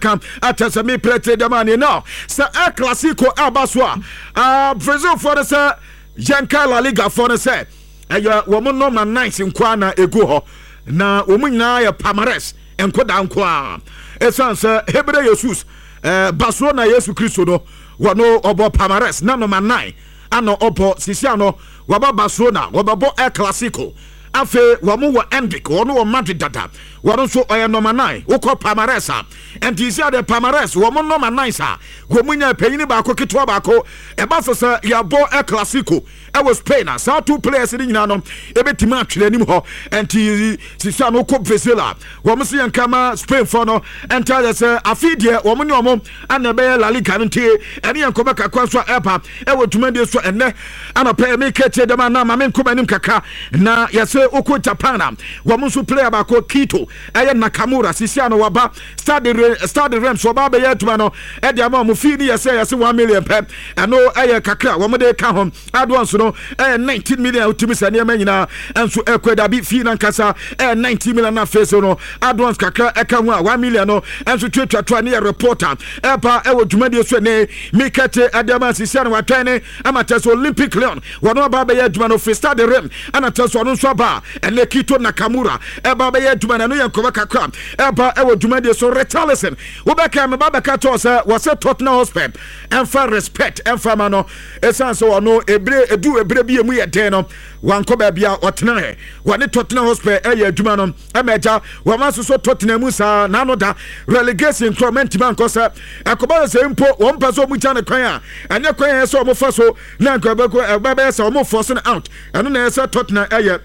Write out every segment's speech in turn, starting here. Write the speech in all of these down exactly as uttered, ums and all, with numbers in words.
Ka akyɛ sɛ meprɛte dɛm ane no sɛ El Clasico aba so a, uh, Brazilfoɔ no sɛ yɛnka La Ligafoɔ no sɛ ɛyɛ wɔn number nines nkoa na ɛgu hɔ, na wɔn nyinaa yɛ palmares nkoda nkoa, ɛsiane sɛ Hebre Jesus eh, Barcelona Yesu Kristo no, wɔno ɔbɔ palmares na number nine ana ɔbɔ. Sisi ano wɔba Barcelona, wɔbɛbɔ El Clasico. Afei wɔn wɔ Endrick, wɔn wɔ Madrid dada, wɔn nso ɔyɛ number nine. Wokɔ palmares a, nti si ade palmares wɔn number nine sa wɔn nya panyin baako, ketewa baako. Ɛba sɛ sɛ yɛabɔ El Clasico ɛwɔ Spain a, saa two players no nyinaa no ɛbɛtumi atwere anim hɔ. Nti sisi ano kɔ Brazil a, wɔn si yɛn kama Spain fɔ no, nti ayɛ sɛ afei deɛ wɔn ne wɔn ana ɛbɛyɛ La Liga no. Nti ɛne yɛn nkɔmɔ kakra nso a ɛba ɛwɔ dwumadie so ɛnɛ anɔpɛ ɛmi kɛkyɛ dɛm a, na maame nkɔmɔ anim kakra na yɛsɛ okɔ Japan a, wɔn nso player baako Kito ɛyɛ Nakamura, sisi ano waba Stade Stade Reims, wɔba abɛyɛ adwuma no ɛde ama wɔn. Fii ni yɛsɛ yɛsɛ one million pɛ, ɛno ɛyɛ kakra wɔn de ka ho. Adoɔ no ɛyɛ nineteen million. Wotumi sɛ nneɛma nyinaa ɛnso ɛkɔ dabi. Fii nankasa ɛyɛ nineteen million, na afei so no adoɔ kakra ɛka ho a, one million no ɛnso tuatuatua ne yɛ reporter ɛba ɛwɔ dwumadie so. Ɛnɛ mikɛte ɛde ama sisi ano watwɛn ne ama kyɛ sɛ Olympic Lyon, wɔn aba abɛyɛ adwuma no firi Stade Reims, ɛna kyɛ sɛ ɔno nso aba. Ɛnɛ Kito Nakamura ɛba abɛyɛ adwuma no. Ɛno yɛ nkɔmɔ kakra ɛba ɛwɔ dwumadie so. Richarlison, wobɛka meba bɛka kyɛw sɛ wɔsɛ Tottenham Hotspur ɛmfa respect ɛmfa ma no, ɛsiane sɛ ɔno ebire edu ebire bi emu yɛ den no, wankɔ baabi a ɔtena. Wɔne Tottenham Hotspur ɛyɛ adwuma no ɛma agya wɔn asosɔ Tottenham mu saa n'ano da relegation korɔ mɛntumi ankɔ sɛ ɛkɔba sɛ mpo wɔn mpɛ sɛ wɔn gya ne kwan a, ɛnyɛ kwan yɛ sɛ wɔn fa so na nka ɛbɛkɔ ɛbɛyɛ sɛ wɔn force no out. Ɛno na ɛyɛ sɛ Tottenham ɛyɛ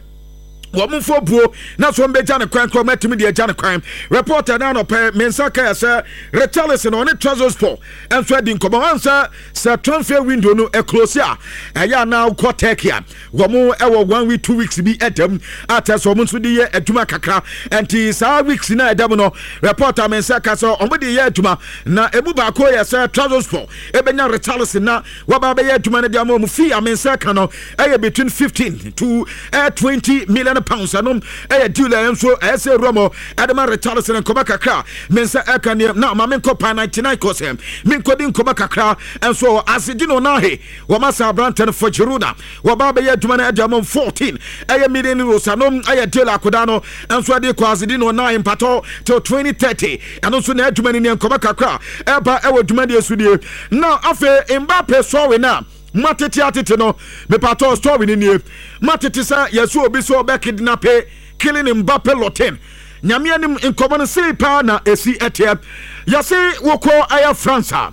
wɔn mfo buo na so wɔn bɛgya ne kwan korɔ, mɛtumi deɛ gya ne kwan. Reporter naa nɔpɛ me nsa ka yɛ sɛ Richarlison ɔne Trabzonspor nso adi nkɔmɔ. Wɔn sɛ sɛ transfer window no ɛclose a, ɛyɛ anaa kɔ Turkey a, wɔn ɛwɔ one week, two weeks bi ɛdɛm a kyerɛ sɛ wɔn nso de yɛ adwuma kakra. Nti saa weeks na ɛdɛm no, reporter me nsa ka sɛ wɔn de yɛ adwuma, na emu baako yɛ sɛ Trabzonspor ebɛnya Richarlison na wɔba bɛyɛ adwuma no de ama wɔn. Fee a me nsa ka no ɛyɛ between fifteen to ɛyɛ twenty million pounds. Ɛnom ɛyɛ deal ɛyɛ nso ɛyɛ sɛ ewura mu ɛde ma Richarlison. Nkɔmɔ kakra me nsa ɛka neɛ na maame nkɔ Panathinaikos, me nkɔdi nkɔmɔ kakra nso. Azzedine Ounahi, wɔn asa aberante no for Girona, wɔba bɛyɛ adwuma no ɛde ama fourteen ɛyɛ million euros. Ɛnom ɛyɛ deal akoda no nso ɛde kɔ. Azzedine Ounahi mpatɔ till twenty thirty, ɛno nso na adwuma no neɛ nkɔmɔ kakra ɛba ɛwɔ dwumadie so die. Na afei Mbappe sɔre na matete atete no, mepatɔ story no nie. Matete sɛ yɛsɛ obi sɛ ɔbɛ kidnap Kylian Mbappe Lottin. Nyame anim, nkɔmɔ no sei paa na ɛsi ɛteɛ. Yɛse wokɔ ɛyɛ France a,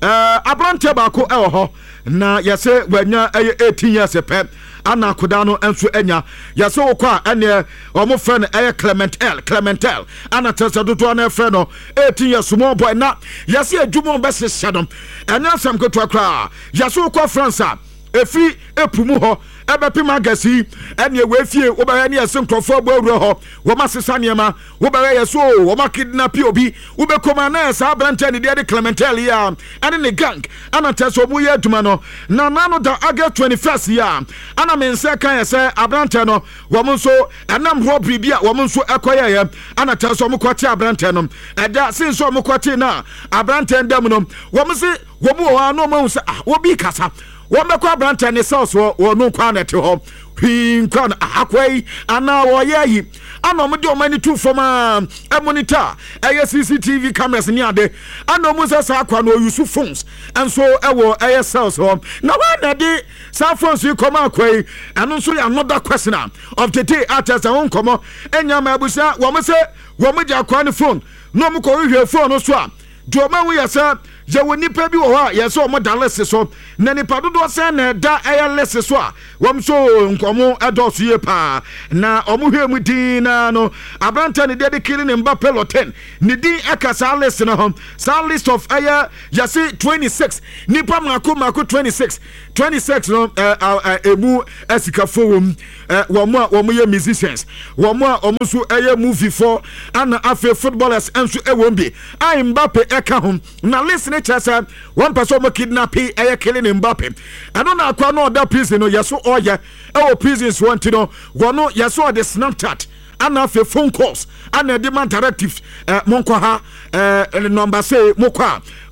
ɛɛ aberanteɛ baako ɛwɔ hɔ na yɛsɛ wanya ɛyɛ eighteen years pɛ ana akoda no nso anya. Yɛsɛ wokɔ a, ɛneɛ ɔmo frɛ no ɛyɛ Clement L Clement L ana kyerɛ sɛ dodoɔ no ɛfrɛ no eighteen years small boy. Na yɛsɛ adwuma ɔbɛhyehyɛ no, ɛnyɛ asɛm ketewa koraa. Yɛsɛ wokɔ France a, ɛfiri epu mu hɔ ɛbɛpem agasi, ɛneɛ wɔafie wobɛyɛ ne yɛse nkurɔfoɔ abɔ awura hɔ, wɔn asesa nneɛma. Wobɛyɛ yɛ so wɔn akidnap obi, wobɛkɔm a na yɛ saa aberanteɛ ne deɛ de Clementel yi a ɛne ne gang ɛna kyerɛ sɛ ɔmo yɛ adwuma no. Na nano da August twenty first yi a, ana me nsa ka yɛ sɛ aberanteɛ no, wɔn nso ɛnam robbery bi a wɔn nso ɛkɔyɛyɛ, ana kyerɛ sɛ wɔn kɔte aberanteɛ no. Ɛda sin sɛ wɔn kɔte na aberanteɛ no dɛm no, wɔn se wɔn wɔ hɔ a na wɔn ahu sɛ ah, wɔbi kasa. Wɔn bɛkɔ aberanteɛ ne cells wɔ wɔn no nkwa na ɛte hɔ hwii nkwa no akɔ yi anaa wɔyɛ ayi, ana wɔn de wɔn ani to fam a ɛmonitor ɛyɛ C C T V cameras ne ade, ana wɔn sɛ saa akwa no ɔuse phones nso ɛwɔ ɛyɛ cells hɔ. Na wɔn na de saa phones yi kɔma akwa yi, ɛno nso yɛ another question of the day. Akyɛ sɛ ho nkɔmɔ ɛnya ma abusua. Wɔn sɛ wɔn gye akwa ne phone na wɔn kɔ hwehwɛ phone no so a, deɛ wɔn ahu yɛ sɛ yɛwɔ nipa bi wɔ hɔ a yɛsɛ wɔn da list so. Na nipa dodoɔ sɛn na ɛda ɛyɛ list so a wɔn nso nkɔmɔ ɛdɔɔso yie paa? Na wɔn hwɛ mu din naa no, aberante ne deɛ de Kylian Mbappe Lottin ne din ɛka saa list no ho. Saa list of ɛyɛ yɛse twenty six nipa mako mako, twenty six twenty six no, ɛɛ ɛɛ emu ɛsikafo wɔ mu, ɛɛ wɔn a wɔn yɛ musicians, wɔn a wɔn nso ɛyɛ movie fo, ɛna afei footballers nso ɛwɔ mu bi a Mbappe ɛka ho. Na list ne kyerɛ sɛ wɔn pɛ sɛ wɔn kidnap ɛyɛ Kylian Mbappe. Ɛno na akwa no ɔda prison no, yɛso ɔyɛ ɛwɔ prison soɔ nti no, wɔn yɛso ɔde Snapchat Ana afei phone calls ana ɛde ma directives, ɛ monkɔ ha, ɛ number sei, mokɔ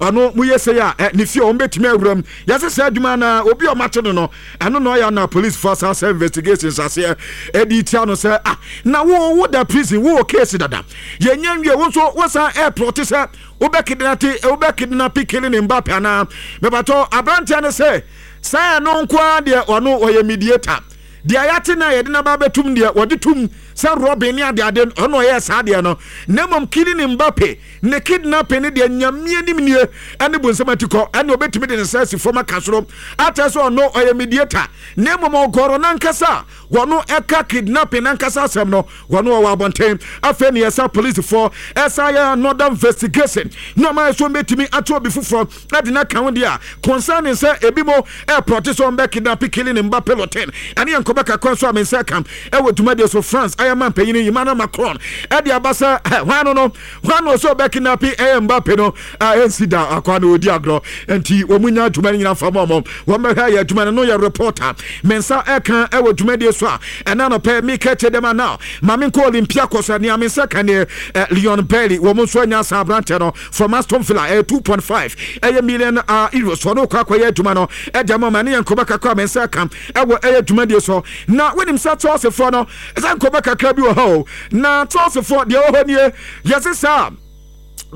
a ɔno moyɛ sei a ɛ ne fie a wɔn bɛtumi awura mu. Yɛsɛ sɛ adwuma na obi a ɔmate no no ɛno na ɔyɛ na police fo asa sɛ investigations aseɛ ɛde tia no sɛ, ah, na wo wo da prison, wo wɔ case dada, yɛnyɛ nwie, wo nso wosan airport sɛ wobɛ kidnap wobɛ kidnap Kylian Mbappe anaa? Mɛbatɔ aberanteɛ no sɛ saa ɛno nko ara deɛ, ɔno ɔyɛ mediator. Deɛ yɛate no a yɛde naba bɛtum deɛ, wɔde tum sɛ Robin ne adeade, ɔno ɔyɛ saa deɛ no, na mmom Kylian Mbappe ne kidnapping ne deɛ, Nyame anim nie ɛne bonsɛm ati kɔ, ɛne ɔbɛtumi de ne nsa asi fam aka soro akyerɛ sɛ ɔno ɔyɛ mediator, na mmom ɔgɔrɔ nankasa a wɔno ɛka kidnapping nankasa asɛm no, wɔno ɔwɔ abɔnten. Afei ne yɛsa policefoɔ ɛsa yɛ another investigation na ɔma yɛ so mbɛtumi ato obi foforɔ ɛde no aka ho deɛ a concerning sɛ ebi mo ɛplot sɛ ɔmbɛ kidnap Kylian Mbappe Lottin. Ɛne yɛ nkɔbɛ kakra nso a me nsa ka ɛwɔ dwumadie so. France ɛyɛ ma mpanyini Emmanuel Macron ɛde aba sɛ hwan no no hwan no sɛ ɔbɛ kidnap ɛyɛ Mbappe no a ɛnsi da akwa no ɔdi agorɔ, nti wɔn mu nya adwuma no nyina fa mu ɔmo wɔn bɛhwɛ ayɛ adwuma no no yɛ reporter me nsa ɛka ɛwɔ dwumadie so a ɛna nɔpɛ meka kyɛ dɛm now. Maame nkɔ Olympiacos a nea me nsa ka neɛ, Leon Bailey, wɔn nso anya asa aberanteɛ no from Aston Villa, ɛyɛ two point five ɛyɛ million uh, euros. Ɔno kɔ akɔyɛ adwuma no ɛde ama ma ne yɛ nkɔmɔ kakra me nsa ka ɛwɔ ɛyɛ dwumadie so. Na wonim sɛ Chelsea foɔ no ɛsɛ nkɔmɔ kakra bi wɔ hɔ o, na Chelsea foɔ deɛ ɛwɔ hɔ nie, yɛse saa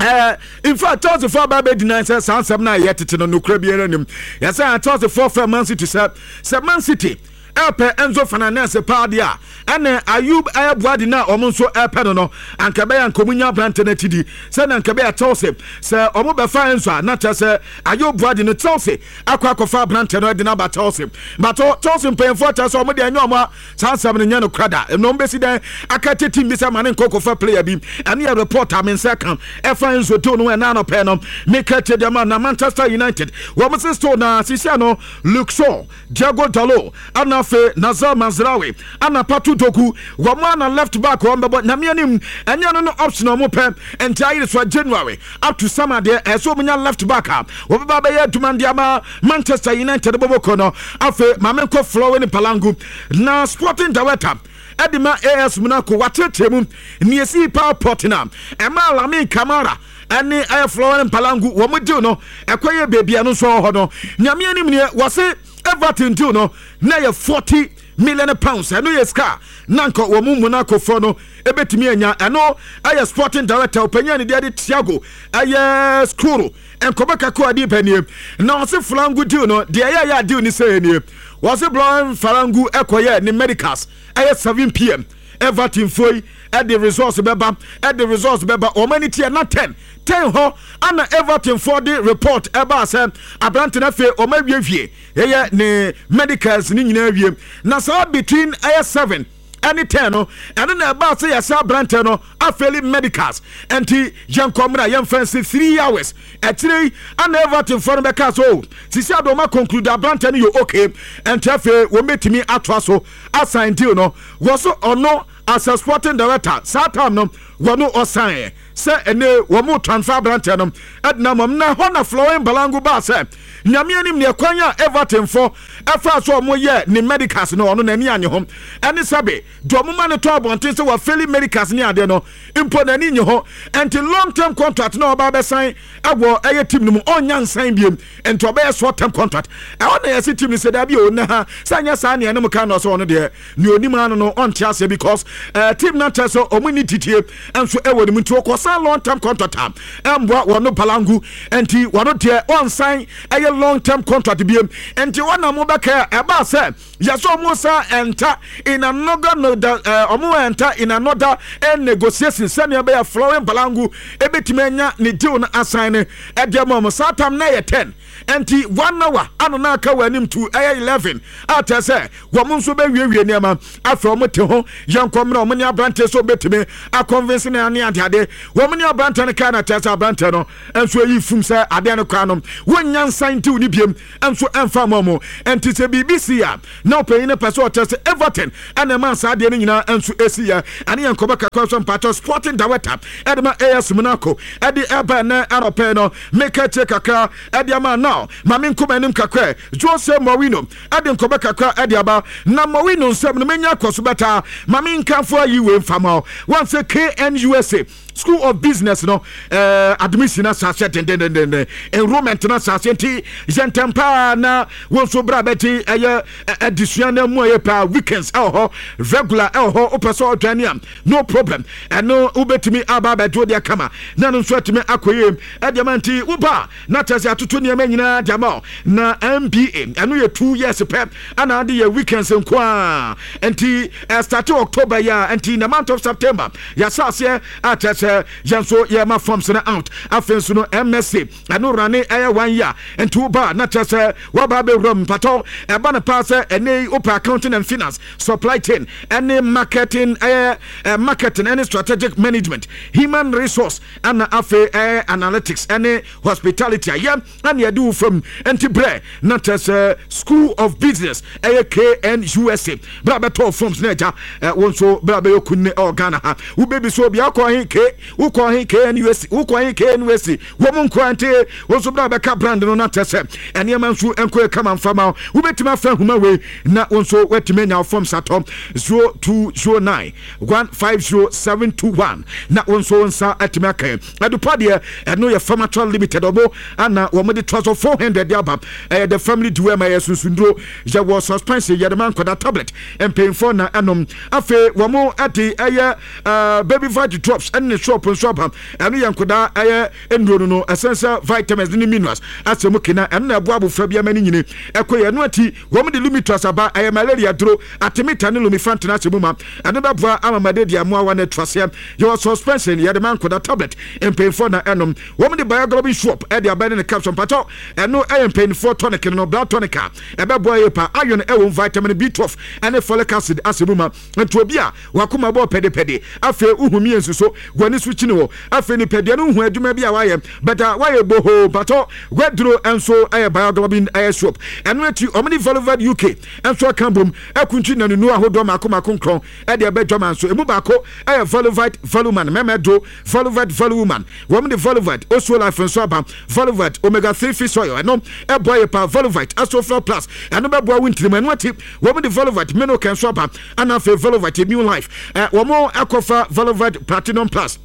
Uh, in fact, Chelsea foɔ aba bɛdi nan sɛ saa nsɛm no a ɛyɛ tete no, nokora biara nim. Yɛsɛ Chelsea foɔ fɛ Man City sɛ sɛ Man City ɛpɛ Enzo Fernandez paa deɛ a, ɛne Ayub ɛyɛ Buadi no a ɔmo nso ɛpɛ no no anka bɛyɛ anka ɔmo nya aberante no akyi di sɛne anka bɛyɛ Chelsea sɛ ɔmo bɛfa Enzo a, na kyerɛ sɛ Ayub Buadi no, Chelsea akɔ akɔfa aberante no ɛde no aba Chelsea. But Chelsea mpanyinfoɔ kyerɛ sɛ ɔmo deɛ, ɛnyɛ ɔmo a saa nsɛm no nyɛ no kora da, ɛna ɔmo bɛsi dɛn aka te team bi sɛ ma ne nkɔ kɔfa player bi? Ɛne yɛ report a me nsa ka ɛfa Enzo deal no. Ɛna anɔpɛ no meka kyerɛ deɛ ma na Manchester United wɔn se still na sisia no Luke Shaw, Diogo Dalot, ana afei Noussair Mazraoui, ana Pato Doku, wɔn ana left back wɔn bɛbɔ. Nyame anim, ɛnyɛ no no option a wɔn pɛ, nti ayere so a January up to summer deɛ, ɛsɛ wɔn nya left back a wɔbɛba bɛyɛ adwuma de ama Manchester United bɔbɔkɔ no. Afei maame nkɔ Florent Balangu na sporting director ɛde ma A S Monaco, wakyerɛkyerɛ mu nea esi paa pɔt na ɛma Lamine Camara ɛne ɛyɛ Florent Balangu wɔn deal no ɛkɔ yɛ beebi a no nso wɔ hɔ no. Nyame anim neɛ, wɔse Everton deal no na yɛ forty million pounds, ɛno yɛ sika na nka wɔn mu Monacofoɔ no ebetumi anya. Ɛno ɛyɛ sporting director ɔpanyin ne deɛ de Thiago ɛyɛ Skuro nkɔmɔ kakra adi pɛ na ɔse Flangu deal no deɛ ɛyɛ ɛyɛ deal ni sɛ nie, wɔse Florent Falangu ɛkɔyɛ ne medicals ɛyɛ seven P M, Everton foɔ yi ɛde results bɛba ɛde results bɛba wɔn ani tiɛ na ten ten hɔ ana Everton foɔ de report ɛba sɛ aberante no afei wɔn awiewie ɛyɛ ne medicals ne nyinaa wie, na saa between ɛyɛ seven ɛne ten no, ɛno na ɛbaa sɛ yɛsɛ aberante no afail medicals, nti yɛnkɔ mmerɛ yɛmfa nsi three hours akyire yi ana Everton foɔ no bɛka so sisi adɔma conclude aberante no yɛ okay, nti afei wɔn bɛtumi atoa so asign deal no. Wɔ so ɔno as a sporting director saa time no, wɔno ɔsan sɛ ɛne wɔn mo transfer aberante no ɛdina mɔm na hɔ na Florent Balangu baa sɛ Nyame anim neɛ kwan a Everton fo ɛfa so ɔmo yɛ ne medicals no, ɔno n'ani anye ho, ɛne sɛbe deɛ ɔmo ma no tɔ abɔnten sɛ wafail medicals ne adeɛ no mpo, n'ani nye ho, ɛnti long term contract na ɔba abɛsan ɛwɔ ɛyɛ team no mu, ɔnya nsan biem, nti ɔbɛyɛ short term contract. Ɛhɔ na yɛsi team no sɛ dabi o, ne ha sɛ nyɛ saa nea ɛnum ka na ɔsɛ ɔno deɛ nea onim ano no ɔnte aseɛ, because ɛɛ team no kyerɛ sɛ ɔmo ni titie nso ɛwɔ ne mu, nti ɔkɔsan long term contract a ɛmboa wɔn Balangu, nti wɔn deɛ ɔnsan ɛyɛ long term contract biem. Nti wɔn na mo bɛkɛ ɛbaa sɛ yɛsɛ ɔmo sa enter in another no da ɛɛ ɔmo enter in another ɛ negotiation sɛnea ɛbɛyɛ Florent Balangu ebetumi anya ne deal no asan ne ɛdeɛ ma ɔmo. Saa tam na yɛ ten, nti one hour ano na aka wɔ anim to ɛyɛ eleven a kyerɛ sɛ wɔn nso bɛwiewie nneɛma. Afei wɔn te ho yɛn nkɔmmerɛ wɔn ne aberante so bɛtumi aconvince. Service ne ne adeade wɔn ne aberantɛ no kaa na kyerɛ sɛ aberantɛ no nso ayi fum sɛ adeɛ no koraa no wɔnnya nsan ntiw ne biem nso ɛmfa ma mu. Nti sɛ biribi si a, na ɔpanyin no pɛ sɛ ɔkyerɛ sɛ Everton ɛna ɛma saa adeɛ no nyinaa nso esi yɛ. Ɛne yɛn nkɔbɔ kakra so. Mpakyɛ, sporting director ɛde ma A S Monaco ɛde ɛba ɛnɛ anɔpɛ no, meka kyerɛ kakra ɛde ama now. Maame nkɔmɔ anim kakra, Jose Mourinho ɛde nkɔbɔ kakra ɛde aba na Mourinho nsɛm no menya akɔ so bɛta. Maame nkanfo ayi wei mfama wɔn sɛ K N U S A School of Business no uh, admission asase dendendenden, enrollment no asase. Nti yɛntɛm paa na wɔn nso bra bɛgye ɛyɛ adesua no mu. Ɛyɛ paa, weekends ɛwɔ hɔ, regular ɛwɔ hɔ. Wopɛ sɛ ɔdwane a, no problem. Ɛno wobɛtumi aba abɛgye wo deɛ kama na no nso atumi akɔ yie ɛdeɛ ma. Nti woba na kyerɛ sɛ atoto nneɛma nyinaa de ama wo. Na M B A ɛno yɛ two years pɛ, ana ade yɛ weekends nko a. Nti ɛstart October yi a, nti in the month of September yɛahyɛ aseɛ a kyerɛ sɛ yɛn nso yɛma forms no out. Afei nso no M S C ɛno rane ɛyɛ one year. Nti woba na kyerɛ sɛ woaba abɛwura mu. Mpatɔ ɛba no paa sɛ ɛnɛ yi wopɛ accounting and finance, supply chain ɛne marketing, ɛyɛ marketing ɛne strategic management, human resource, ɛna afei ɛyɛ analytics ɛne hospitality a yɛ ɛne yɛde wo fam. Nti brɛ na kyerɛ sɛ School of Business ɛyɛ K N U S A. Berɛ a bɛtɔɔ forms na agya wo nso berɛ a bɛyɛ kunne ɛwɔ Ghana ha, wobɛbi so obi akɔ he k wokɔ he K N U S A, wokɔ he K N U S A wɔ mu nkoa. Nti wo nso berɛ a bɛka brand no na kyerɛ sɛ ɛnneɛma nso nkɔ yɛ kama mfama. Wobɛtumi afa ahoma wei na wo nso woatumi anya wo forms atɔ, zero two zero nine one five zero seven two one, na wo nso wo nsa atumi aka. Adupa deɛ, ɛno yɛ Pharmatural Limited ɔmo ana wɔn de toa so four hundred de aba. Ɛyɛ the family dewormer, ɛyɛ sunsunduro. Yɛwɔ suspension, yɛde ma nkɔda, tablet mpanyinfoɔ na ɛnom. Afei wɔn de ɛyɛ ɛɛ Baby Vit Drops ɛne ne shop nso aba. Ɛno yɛ nkɔda, ɛyɛ nnuro no no essential vitamins ne minerals asɛ mu kena. Ɛno na ɛboa abofra bi ama ne nyini ɛkɔ yɛ. Ɛno akyi wɔn de Lumitrust aba, ɛyɛ malaria duro. Artemether ne lumefantrine ahyɛ mu ma. Ɛno bɛboa ama malaria mmoawa no atu aseɛ. Yɛwɔ suspension, yɛde ma nkɔda, tablet mpanyinfoɔ na ɛnom. Wɔn de Bioglobin Shop ɛde aba ne ne capsule. Mpatɔ ɛno ɛyɛ mpanyinfoɔ tonic no, blood tonic a ɛbɛboa yɛ pa. Iron ɛwɔ, vitamin B twelve ɛne folic acid asɛ mu ma. Nti obi a wakoma bɔ pɛdepɛde, afei uhu mmiɛnsu so w'ani so kyini hɔ, afei nipadua no hu adwuma bi a wayɛ bɛta wayɛ bohoo, mpatɔ waduro nso ɛyɛ Bioglobin ɛyɛ soap. Ɛno akyi ɔmo de Valovad U K nso aka bom akuntwi nanunu ahodoɔ mako mako nkrɔn ɛde ɛbɛ dwama nso. Emu baako ɛyɛ Valovite Valuman mɛmɛ do, Valovite Valuwoman. Wɔn de Valovite Osuo Life nso aba, Valovite Omega three fish oil, ɛno ɛboa yɛ pa. Valovite Asofra Plus, ɛno bɛboa wo ntirim. Ɛno akyi wɔn de Valovite Menoke nso aba, ɛna afei Valovite Immune Life. Ɛ wɔn akɔfa Valovite Platinum Plus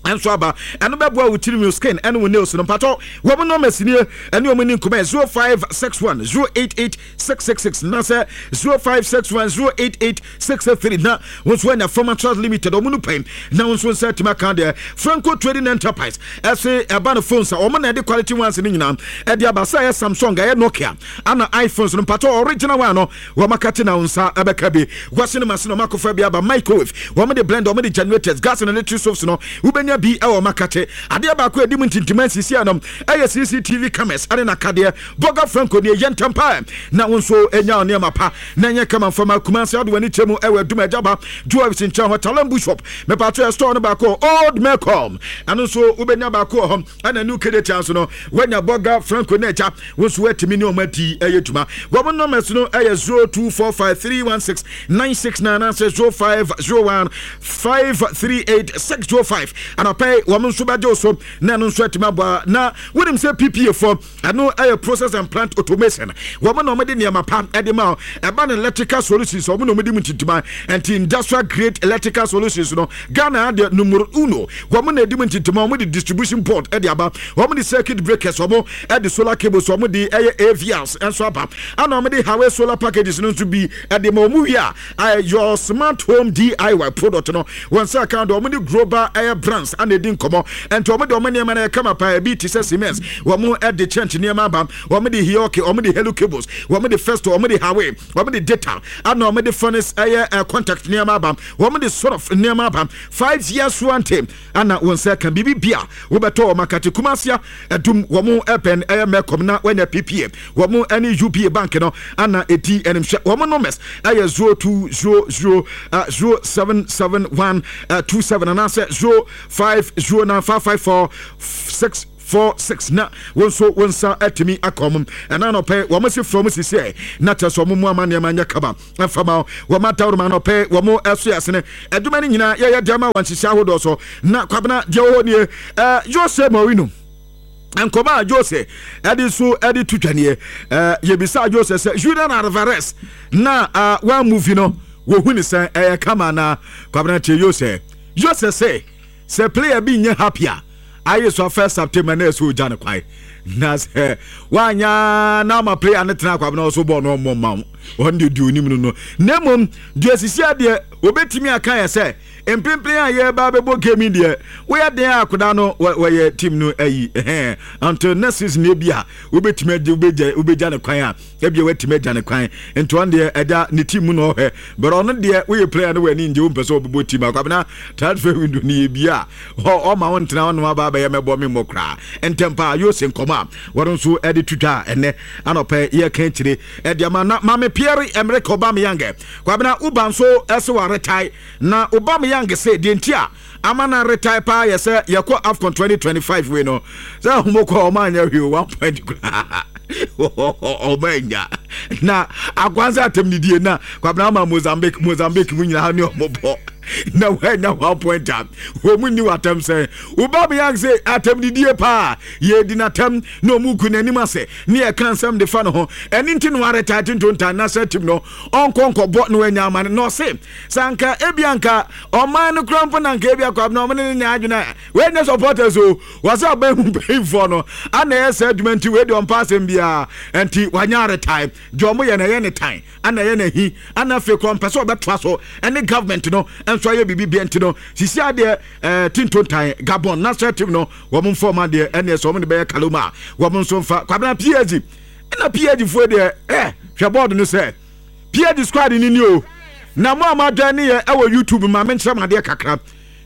ɛnso aba. Ɛno bɛboa wo tirim, skin ɛne wo nails no. Mpatɔ wɔn nɔɔma sinie ɛne wɔn ni nkɔmɔ zero five six one zero eight eight six six six na sɛ zero five six one zero eight eight six three, na wɔn nso anya Pharma Limited wɔn no pɛn na wɔn nso nsa atumi aka deɛ. Franco Trading Enterprise ɛsɛ ɛba no phones a wɔn na ɛde quality ones no nyinaa ɛde aba, sɛ ɛyɛ Samsung, ɛyɛ Nokia ana iPhones no. Mpatɔ original one no wɔn akate na wɔn nsa ɛbɛka bi. Wɔsi no ma se na wɔn akɔfa bi aba, microwave, wɔn de blender, wɔn de generators, gas and electric stoves no wobɛnya bi ɛwɔ wɔn akate. Adeɛ baako a ɛdi mu ntintima nsisi anom ɛyɛ C C T V cameras ɛne n'akadeɛ. Bɔga Franco ne ɛyɛ ntɛm paa na wo nso ɛnya nneɛma pa na ɛnyɛ kama mfama. Kumase ade w'ani kyɛ mu ɛwɔ Adum Agyaba Jewelries nkyɛn hɔ, Talambu Shop. Mepatro yɛ store no baako Old Melcom, ɛno nso wobɛnya baako wɔ hɔ. Ɛna New Kejetia nso no woanya Bɔga Franco ne agya wo nso woatumi ne ɔma adi ɛyɛ dwuma. Wɔn numbers no ɛyɛ zero two four five three one six nine six nine anaasɛ zero five zero one five three eight six zero five. Anɔpɛ wɔn nso bɛgye wo so na ɛno nso atumi aboa. Na wonim sɛ P P A foɔ, ɛno ɛyɛ Process and Plant Automation, wɔn na wɔde nneɛma pa ɛde ma. Ɛba no electrical solutions, wɔn na wɔde mu ntintima. Nti industrial grade electrical solutions no, Ghana adeɛ numero uno, wɔn na ɛdi mu ntintima. Wɔn de distribution board ɛde aba, wɔn de circuit breakers, wɔn ɛde solar cables, wɔn de ɛyɛ A V Rs nso aba, ɛna wɔn de Huawei solar packages no nso bi ɛde ma wɔn. Wie a, your smart home D I Y product no wɔn nsa account, wɔn de global ɛyɛ brand. fans ana ɛdi nkɔmmɔ. Ɛnti wɔn de wɔn nneɛma no ɛkama paa. Ebi te sɛ Siemens, wɔn de Chint nneɛma aba, wɔn de Hioki, wɔn de Helu cables, wɔn de Festo, wɔn de Huawei, wɔn de Data, ana wɔn de Phoenix ɛyɛ ɛ contact nneɛma aba, wɔn de Sorof nneɛma aba. Five years warranty ana wɔn nsa ka biribi bia wobɛtɔ wɔn akate. Kumasia ɛdum wɔn ɛpɛn ɛyɛ Mɛkɔm na wɔanya P P A, wɔn ɛne U B A Bank no ana ɛdi ɛnimhwɛ. Wɔn numbers ɛyɛ zero two zero zero zero seven seven one two seven anaasɛ zero five zero nine five five four six four six, na wɔn nso wɔn nsa atumi aka wɔn. Ɛna nɔpɛ wɔn si fam sisi ɛ na kyerɛ sɛ wɔn mu ama nneɛma nyɛ kaba ɛfama wɔn atawuruma. Nɔpɛ wɔn ɛso yɛ asene adwuma no nyinaa yɛyɛ deɛ ma wɔn nhyehyɛ ahodoɔ so. Na Kwabena, deɛ wɔwɔ nie, ɛɛ Jose Mourinho, nkɔmɔ a Jose ɛde so ɛde tu twaneɛ, ɛɛ yɛbisa Jose sɛ Julian Alvarez na ɛɛ wɔn movie no wɔhu ne sɛn, ɛyɛ kama? Na Kwabena, tie Jose. Jose sɛ sɛ player bi nyɛ happy a, ayɛ so first September na ɛsɛ ogya ne kwan, na sɛ wanya na ama player ne tena, Kwabena, ɔso bɔɔl no ɔmmɔ mma wo, ɔno deɛ di onim no no Na mmom deɛ sisi adeɛ obɛtumi aka yɛ sɛ mpempem a yɛba bɛbɔ game deɛ, woyɛ den a akoda no wɔyɛ team no ayi ɛhɛn until next season. Ebi a wobɛtumi agye wobɛgya wobɛgya ne kwan a, ebi a watumi agya ne kwan. Nti ɔno deɛ ɛda ne team mu na ɔhwɛ bɛrɛ. Ɔno deɛ woyɛ player no w'ani ngye, wompɛ sɛ ɔbɛbɔ team a, Kwabena, transfer window no yɛ bi a ɔma wo ntena ɔnom aba abɛyɛ mɛbɔ me mmɔ koraa ntɛm paa. Yose nkɔmɔ a wɔno nso ɛde twitwa a ɛnɛ anɔpɛ yɛka akyire ɛde ama na Mame Pierre Emerick Aubameyang. Kwabena, woba nso ɛsɛ wɔ retire, na Aubameyang sɛ deɛ nti a ama na retire paa yɛ sɛ yɛkɔ AFCON twenty twenty-five wei no sɛ ahomokɔ ɔma anyɛ hwee, one point koraa ɔma anya na akwansa atam didie na Kwabena ama Mozambique Mozambique mu nyinaa ne ɔmo bɔ na wɔanya one point a wɔn mu nni w'atam. Sɛn Aubameyang sɛ atam didie paa yɛdi n'atam na ɔmu ku n'anim ase ne yɛka nsɛm de fa ne ho, ɛne nti no aretire tintontan national team no ɔnkɔ nkɔbɔ na wanya ama no. Na ɔse sɛ anka ebi anka ɔman no kura mpo na anka ebi akɔ abena ɔmo ne ne nya adwene a wɔnyɛ supporters o, wɔsɛ ɔbɛn mu mpanyinfoɔ no ana ɛyɛ sɛ adwuma nti wei deɛ ɔmpa asɛm biara. Nti wanya aretire deɛ ɔmo yɛ no ɛyɛ ne tan ana ɛyɛ n'ahi, ana afei kɔ mpɛ sɛ ɔbɛtoa so ɛne government no nso ayɛ biribi bia. Nti no sisi adeɛ ɛɛ tintontan Gabon national team no wɔn mfa ɔmo adeɛ ɛne ɛsɛ wɔn de bɛyɛ kaloma a wɔn nso mfa. Kwabena, P S G ɛna P S G foɔ deɛ ɛ hwɛ board no sɛ P S G squad ni ni o, na mo a mo adwa ne yɛ ɛwɔ YouTube, maame nkyerɛ mo adeɛ kakra.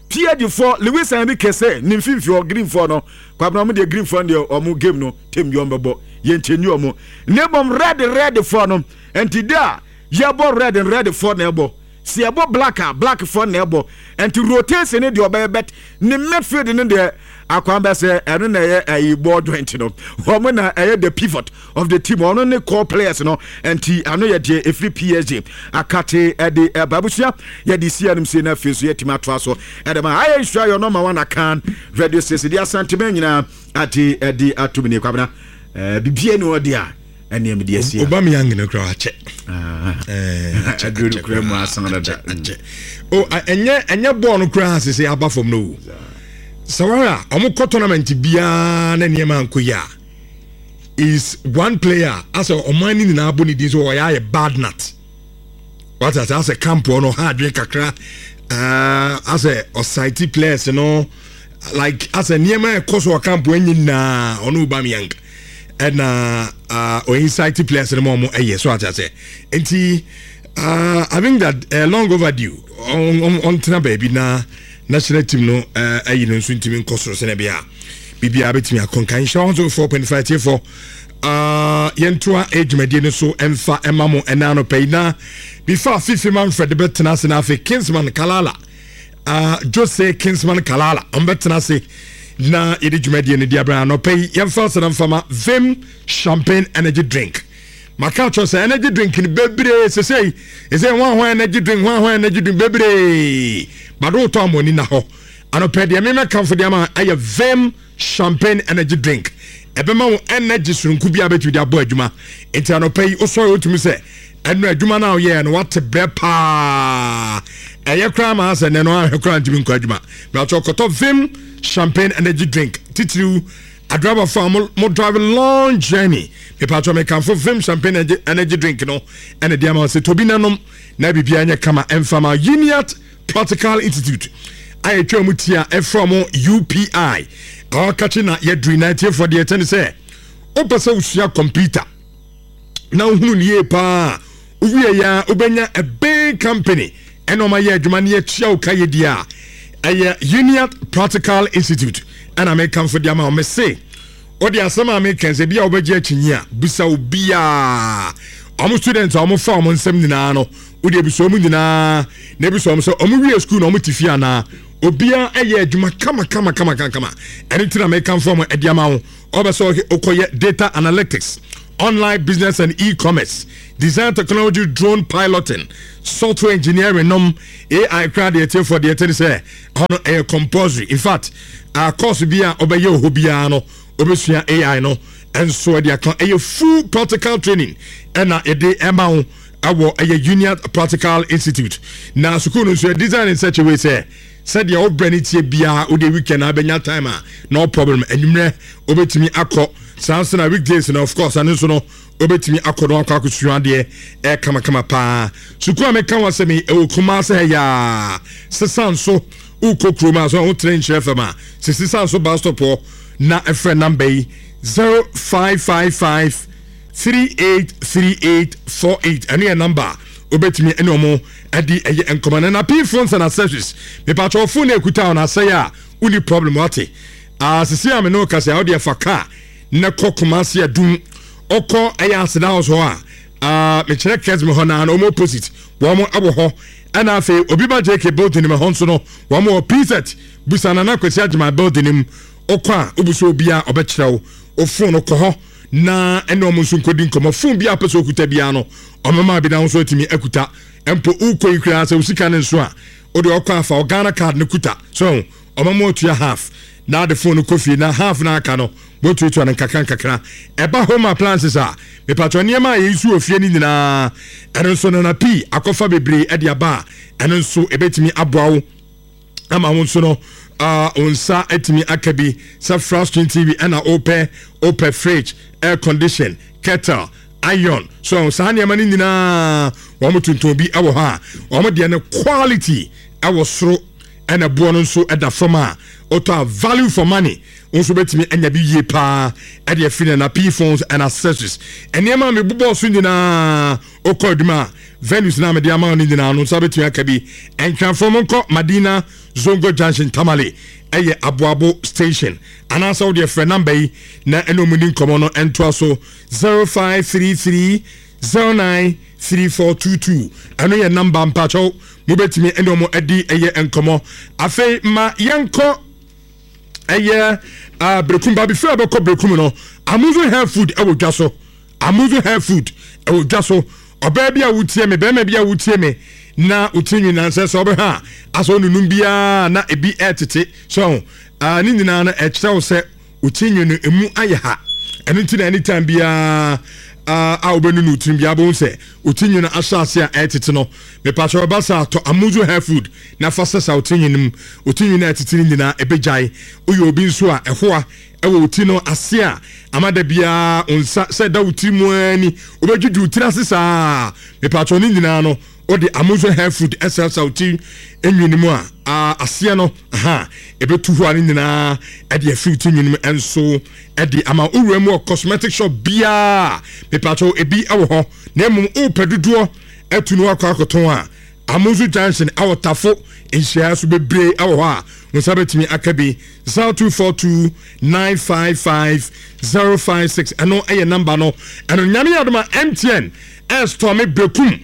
P S G foɔ, Luis Enrique sɛ ne mfimfini hɔ green foɔ no, Kwabena, ɔmo deɛ green foɔ no deɛ ɔmo game no tem deɛ ɔmo bɛbɔ yɛn nkyɛn ɔmo, ne mmom red red foɔ no nti de a yɛbɔ red red foɔ na ɛbɔ si ɛbɔ black a black foɔ na ɛbɔ. Nti rotation ne deɛ ɔbɛyɛ bet ne midfield ne deɛ akwan bɛ sɛ ɛno na ɛyɛ ɛyi ball joint no, wɔn na ɛyɛ the pivot of the team, ɔno ne core players no. Nti ano yɛ deɛ efiri P S G akate ɛde ɛba abusua yɛde si ɛnum si na afei so yɛtumi atoa so ɛde ma ayɛ nsua yɛ ɔnɔma wɔn akan radio station de Asantema nyinaa ate ɛde atum ne. Kwabena, ɛɛ bibie ne ɔde a ɛnneɛm de asi a. Aubameyang no kora akyɛ. Aduro no kura mu asan dada. Akyɛ o, ɛnyɛ ɛnyɛ bɔɔl no koraa sese aba fam no o. Sɛ wɔn a wɔn kɔ tournament biara na nneɛma ankɔ yi a, is one player asɛ ɔman ne nyinaa bɔ ne din so ɔyɛ ayɛ bad nut wate ase asɛ camp hɔ no ɔha adwene kakra, ɛɛ asɛ ɔsaiti players no like asɛ nneɛma ɛkɔ so wɔ camp hɔ nyɛ nyinaa ɔno Aubameyang ɛna uh, ɔincite players no ma ɔmo ɛyɛ so ate ase. Nti uh, I think that uh, long overdue ɔntena baabi na national team no ɛyi no nso ntumi nkɔ soro sɛnɛ bia biribiara bɛtumi akɔ nka nhyɛ one so four point five tiefo. uh, yɛntoa adwumadie no so ɛmfa ɛma mo ɛna anɔpɛ yi na before Fifi Manfred bɛtena ase na afei Kingsman Kalala, uh, Jose Kingsman Kalala ɔmbɛtena ase na yɛde dwumadie no di abɛn. Anɔpɛ yi yɛmfa asɛdɛ mfama Vim Champagne energy drink. Maka kyerɛ sɛ energy drink no bebree sesei ɛsɛ ho ho energy drink ho ho energy drink bebree bade wotɔ amɔni na hɔ. Anɔpɛ deɛ memɛkamfo deɛ ama ɛyɛ Vim Champagne energy drink. Ɛbɛma wo energy soronko bi a bɛtumi de abɔ adwuma. Nti anɔpɛ yi wosɔre wotumi sɛ ɛno adwuma no a woyɛɛ no wate brɛ paa, ɛyɛ koraa ma asɛ nɛ no ahwɛ koraa ntumi nkɔ adwuma. Bɛatɔ kɔtɔ Vim Champagne energy drink, titiriw adriverfo a mo, mo drive long journey. Mepatɔ mekamfo Vim Champagne energy, energy drink no ɛna de ama wo sɛ tobi nanom na biribiara nyɛ kama. Ɛmfama Uniat Practical Institute A yɛtwa mu ti a ɛfrɛ mo U P I awakakye na yɛduri na atiefoɔ deɛ ɛkyɛ ne sɛ wopɛ sɛ wosua computer na wohunu ne yie paa, wowie yɛ a wobɛnya a big company ɛna ɔma yɛ adwuma ne yɛtua wo ka yɛ di a, ɛyɛ Uniat Practical Institute. Ɛna mekamfo de ama wo. Me se wode asɛm a meka sɛ bi a wobɛgye akyinyi a, bisa obiaa ɔmo student a ɔmo fa ɔmo nsɛm nyinaa no. Wode ebisa ɔmo nyinaa na ebisa ɔmo sɛ ɔmo wie school na ɔmo te fie anaa obiara ɛyɛ adwuma kama kama kama kama kama. Ɛno nti na mekamfo ɔmo ɛde ama wo. Ɔbɛ sɛ wokɔyɛ data analytics, online business and e-commerce, design technology, drone piloting, software engineering nom, A I kora deɛ, tiefoɔ deɛ tɛ ne sɛ ɛhɔ no ɛyɛ compulsory. In fact, uh, course bi a ɔbɛyɛ wɔ hɔ biara no, wobɛsua A I no ɛnso ɛde aka. Ɛyɛ full practical training ɛna yɛde ɛma wo ɛwɔ ɛyɛ Union Practical Institute. Na sukuu no nso yɛ design in such a way sɛ sɛdeɛ wobrɛ no tie biara, wode weekend a bɛnya time a, no problem. Anwummerɛ wobɛtumi akɔ saa nso, na weekdays no, of course, ɛno nso no wobɛtumi akɔ no akɔ akɔsua adeɛ ɛyɛ kamakama paa. Sukuu a meka wɔ sɛ me ɛwɔ Kumase ha yaa sesa nso wokɔ kurom a so wotene nkyerɛ fam a sisi sa nso bus stop hɔ na ɛfrɛ number yi, zero five five five three eight three eight four eight. Ɛno yɛ number a wobɛtumi ɛne ɔmo ɛde ɛyɛ nkɔmɔ. No na P Phones and Accessories, mepatwɛ phone na ekuta ɔno asɛe a, woni problem wate asisi a me ne wo kasa a, wode ɛfa car na kɔ Kumase Adum. Ɔkɔ ɛyɛ Aseda House hɔ a, mekyerɛ Kɛsmi hɔ naa na ɔmo opposite wɔn ɛwɔ hɔ. Ɛna afei obi ba J K building mu hɔ nso no, wɔn wɔ P Z busa Nana Kwesi Agyema building mu. Ɔkɔ a wobusa obi a ɔbɛkyerɛ wo o. Phone no kɔ hɔ na ɛne ɔmo nso nkɔdi nkɔmɔ. Phone bi a pɛ sɛ okuta biara no, ɔmɛma bi na nso atumi akuta. Mpo wokɔ yi koraa sɛ osika ne nso a, wode ɔkɔ afa o Ghana Card no kuta so, ɔmɛma otua half na ade phone no kɔ fie, na half na aka no wɔtuatua no nkakra nkakra. Ɛba home appliances a, mepatwɔ nneɛma a yɛyi so wɔ fie no nyinaa, ɛno nso nana pii akɔfa bebree ɛde aba a, ɛno nso ɛbɛtumi aboa wo ama wo nso no uh, wo nsa atumi aka bi sɛ flat screen T V ɛna wopɛ, wopɛ fridge, air condition, kettle, iron so, saa nneɛma no nyinaa wɔn tontɔn bi ɛwɔ hɔ a wɔn deɛ no quality ɛwɔ soro, ɛna boɔ no nso ɛda fam a wotɔ a, value for money nso bɛtumi anya bi yie paa ɛde afiri na na P Phones and Accessories. Nneɛma a mebobɔɔ so nyinaa, wokɔ adwuma a, venues na mede ama wo no nyinaa no nsa bɛtumi aka bi. Nkranfoɔ mo nkɔ Madina Zongo Junction, Tamale ɛyɛ Aboabo station, anaasɛ wode frɛ number yi na ɛne ɔmu ni nkɔmmɔ no ɛntoa so, zero five three three zero nine three four two two. Ɛno yɛ number mpakyɛw mobɛtumi ɛne ɔmo adi ɛyɛ nkɔmmɔ. Afei ma yɛnkɔ ɛyɛ uh, Brekum ba. Before ɛbɛkɔ Brekum no, Amuzu Hair Food ɛwɔ dwa so. Amuzu Hair Food ɛwɔ dwa so. Ɔbaa bi a wotie me, bɛrima bi a wotie me na wotie nyinaa sɛ sɛ ɔbɛhwɛ a asɛ onunum biara na ebi ɛtete so uh, ne nyinaa no ɛkyerɛ wo sɛ wotie nwi no emu ayɛ ha. Ɛno nti na anytime biara uh, a wobɛnunu tirim biara, bɛhu sɛ woti nwi no ahyɛ ase a ɛtete no. Mepakyɛ ɔba sa atɔ Amuzu Hair Food na fa sɛ sa woti nwi no mu, woti nwi no a ɛtete no nyinaa ɛbɛgyae. Woyɛ obi nso a ɛhoa ɛwɔ wo ti no ase a, ama da biara wo nsa sɛ da wo tiri mu ani wobɛdwidwi wo tiri ase saa, mepakyɛ ne nyinaa no wode Amuzu Hair Food ɛsrasra wo ti nwi no mu a, aseɛ no aha ɛbɛtu hɔ a, ne nyinaa ɛde afiri wo ti nwi no mu ɛnso ɛde ama. Wowura mu wɔ cosmetic shop biara, mepakyɛ ebi ɛwɔ hɔ. Na mmom wopɛ dodoɔ atu no akɔ akɔtɔn a, Amuzu Junction ɛwɔ Tafo nhyia so, bebree ɛwɔ hɔ a wo nsa bɛtumi aka bi. zero two four two nine five five zero five six, ɛno ɛyɛ number no. Ɛno Nyame yɛ adoma M T N ɛstɔme Brekum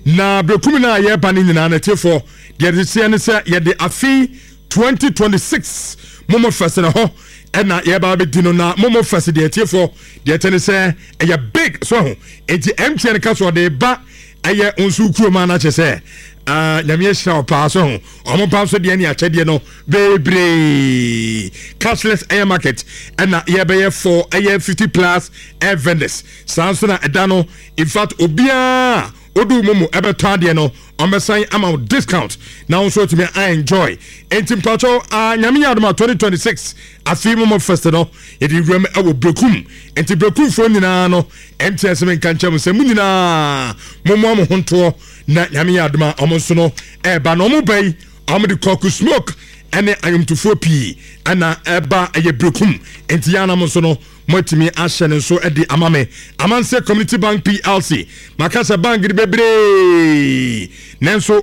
na Brekum no a yɛreba no nyinaa no, atiefoɔ deɛ de seɛ ne sɛ yɛde afe twenty twenty-six Momo Fest na hɔ ɛna yɛba bɛdi no. Na Momo Fest deɛ, atiefoɔ deɛ ɛkyɛ ne sɛ ɛyɛ big so ho. Enti M T N ka so ɔde ba ɛyɛ nso kurom a, na kyerɛ sɛ uh, Nyame ahyira wo paa so ho. Ɔmo pa nso deɛ ne akyɛdeɛ no bebree. Cashless ɛyɛ market ɛna yɛbɛyɛ for ɛyɛ fifty plus air vendors. Saa nso na ɛda no, in fact, obiara odu mu mu ɛbɛtɔ adeɛ no, ɔmbɛsan ama wo discount na wo nso atumi a enjoy. Enti mpakyɛw uh, Nyame yɛ adom a, twenty twenty-six afei Momo Fest no yɛde wuram ɛwɔ Brekum. Enti Brekumfoɔ nyinaa no, M T N sɛ menka nkyɛn mu sɛ mo nyinaa mommoa mo ho ntoɔ na Nyame yɛ adom a, ɔmo nso no ɛɛba. Na ɔmo ba yi, ɔmo de kɔku smoke Ɛne ayomtofoɔ pii ɛna ɛba ɛyɛ Berekum, nti yɛn anam nso no moatumi ahyɛ ne nso de ama me. Amanseɛ Community Bank P L C, maka sɛ bank de bebree, nanso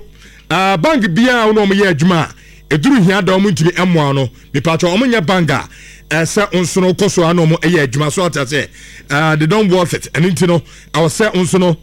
uh, bank biara wo na ɔmo yɛ adwuma a ɛduru hia da ɔmo ntumi mmoa no. Mipatwa, ɔmo nyɛ bank a ɛsɛ nso no kɔ so a na ɔmo yɛ adwuma so ate sɛ uh, they don't worth it. Ɛno nti no ɛwɔ sɛ nso no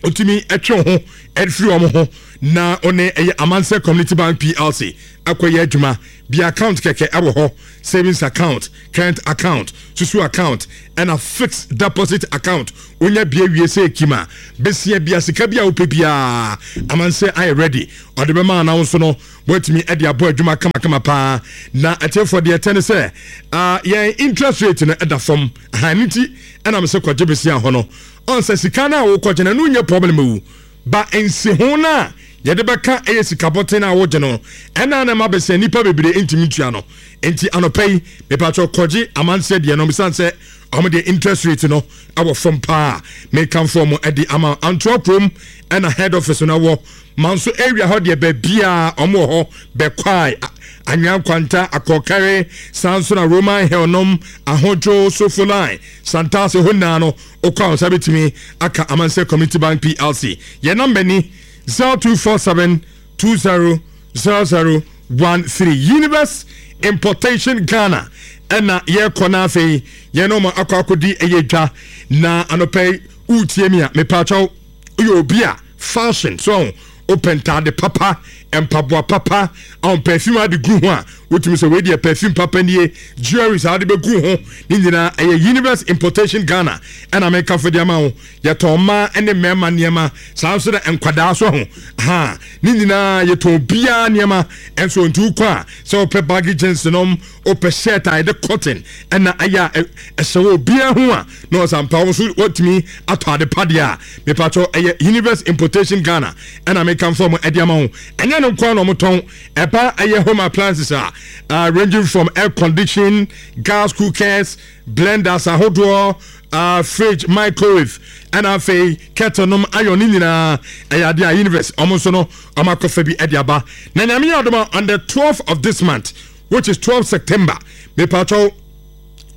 otumi ɛtwe ho ɛfiri wɔn ho na ɔne ɛyɛ Amanseɛ Community Bank P L C akɔyɛ adwuma bi. Account kɛkɛ ɛwɔ hɔ: savings account, current account, susu account, ɛna fixed deposit account. Wonya bie wie sɛ ekima besia bia sika bi a wopɛ biara, Amanseɛ ayɛ ready ɔde bɛma anawo nso no wɔatumi ɛde abɔ adwuma kamakama paa. Na ɛtiɛfoɔ, deɛ ɛtɛ ne sɛ uh, yɛn interest rate no ɛda fam ahan ne ti ɛnam sɛ kɔgye besia hɔ no ɔnsɛ sika no a wokɔgye no, ɛno nyɛ problem wu ba nsiho no a yɛde bɛka ɛyɛ sika bɔten no a wogye no, ɛna na ma bɛsɛ nnipa bebree ntumi ntua no. Nti anɔpa yi, mepatwɛ, kɔgye Amanseɛ deɛ no, bisane sɛ ɔmo deɛ interest rate no ɛwɔ fam paa. Mekamfo ɔmo ɛde ama. Antoa kurom ɛna head office no ɛwɔ Manso area hɔ deɛ, baabiaa ɔmo wɔ hɔ: Bɛkwae, Anwea Nkwanta, Akɔkɛre, saa nso na Roman Hill nom, Ahodwo, Sofo Line, Santase hɔ nyinaa no, wokɔ a wo nsa bɛtumi aka Amanseɛ Community Bank P L C. Yɛn number ni: zero two four seven two zero zero zero one three. Universe Importation Ghana ɛna yɛrekɔ no. Afei yɛn ɔmo akɔ akɔdi ɛyɛ dwa. Na anɔpɛ yi wotie mi a, mepaakyɛw, woyɛ obi a fashion so wopɛ ntaade papa, mpaboa papa, ɔn perfume ade gu ho a wotumi sɛ wei deɛ perfume papa nie, jewelries a wode bɛgu ho ne nyinaa, ɛyɛ Universe Importation Ghana ɛna mekafo de ama wo. Yɛtɔn mmaa ne mmarima nneɛma, saa nso na nkwadaa so ho ha ne nyinaa, yɛtɔn biara nneɛma. Ɛnso nti wokɔ a, sɛ wopɛ baggy jeans nom, wopɛ shirt a yɛde cotton ɛna ayɛ a ɛhyɛ wɔ obiara ho a na ɔsampa wo nso watumi atɔ ade padeɛ a, mepatwɔ, ɛyɛ Universe Importation Ghana ɛna mekamfo mo ɛde ama wo. Ɛnyɛ no nkoa na ɔmotɔn. Ɛba ɛyɛ home appliances a uh, ranging from air condition, gas cookers, blenders ahodoɔ, uh, fridge, microwave, ɛna afei kettle nom, ayɔ ne nyinaa, ɛyɛ adeɛ a Universe ɔmo nso no ɔmo akɔfa bi ɛde aba. Na Nyame yɛ adom, on the twelfth of this month, which is twelve September, mepatwɛw,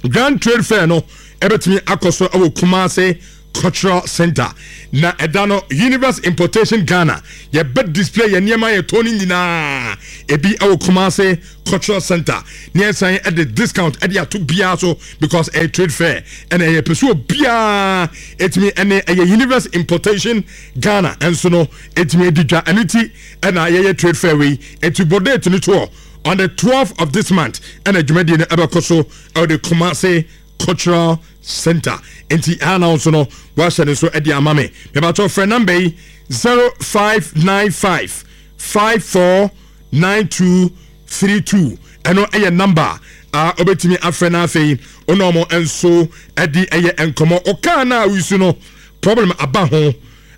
Grand Trade Fair no ɛbɛtumi akɔ so ɛwɔ Kumase Cultural Center. Na ɛda no, Universe Importation Ghana yɛbɛ display yɛ nneɛma yɛtɔn no nyinaa ebi ɛwɔ Kumase Cultural Center ne yɛsan ɛde discount ɛde ato biara so because ɛyɛ trade fair ɛna ɛyɛ pɛ so obiara ɛtumi ɛne ɛyɛ Universe Importation Ghana ɛnso no ɛtumi adi dwa. Ɛno ti ɛna yɛyɛ trade fair wei. Ɛti bɔ date no toɔ: on the twelfth of this month ɛna dwumadie no ɛbɛkɔ so ɛwɔ de Kumase Cultural Center. Nti ana nso no wahyɛ ne so de ama me. Mebatɔ, frɛ number yi: zero five nine five five four nine two three two. Ɛno ɛyɛ number a wobɛtumi afrɛ no. Afei wone ɔmo nso de ɛyɛ nkɔmmɔ. Ɔkaa no a woyisu no problem aba ho,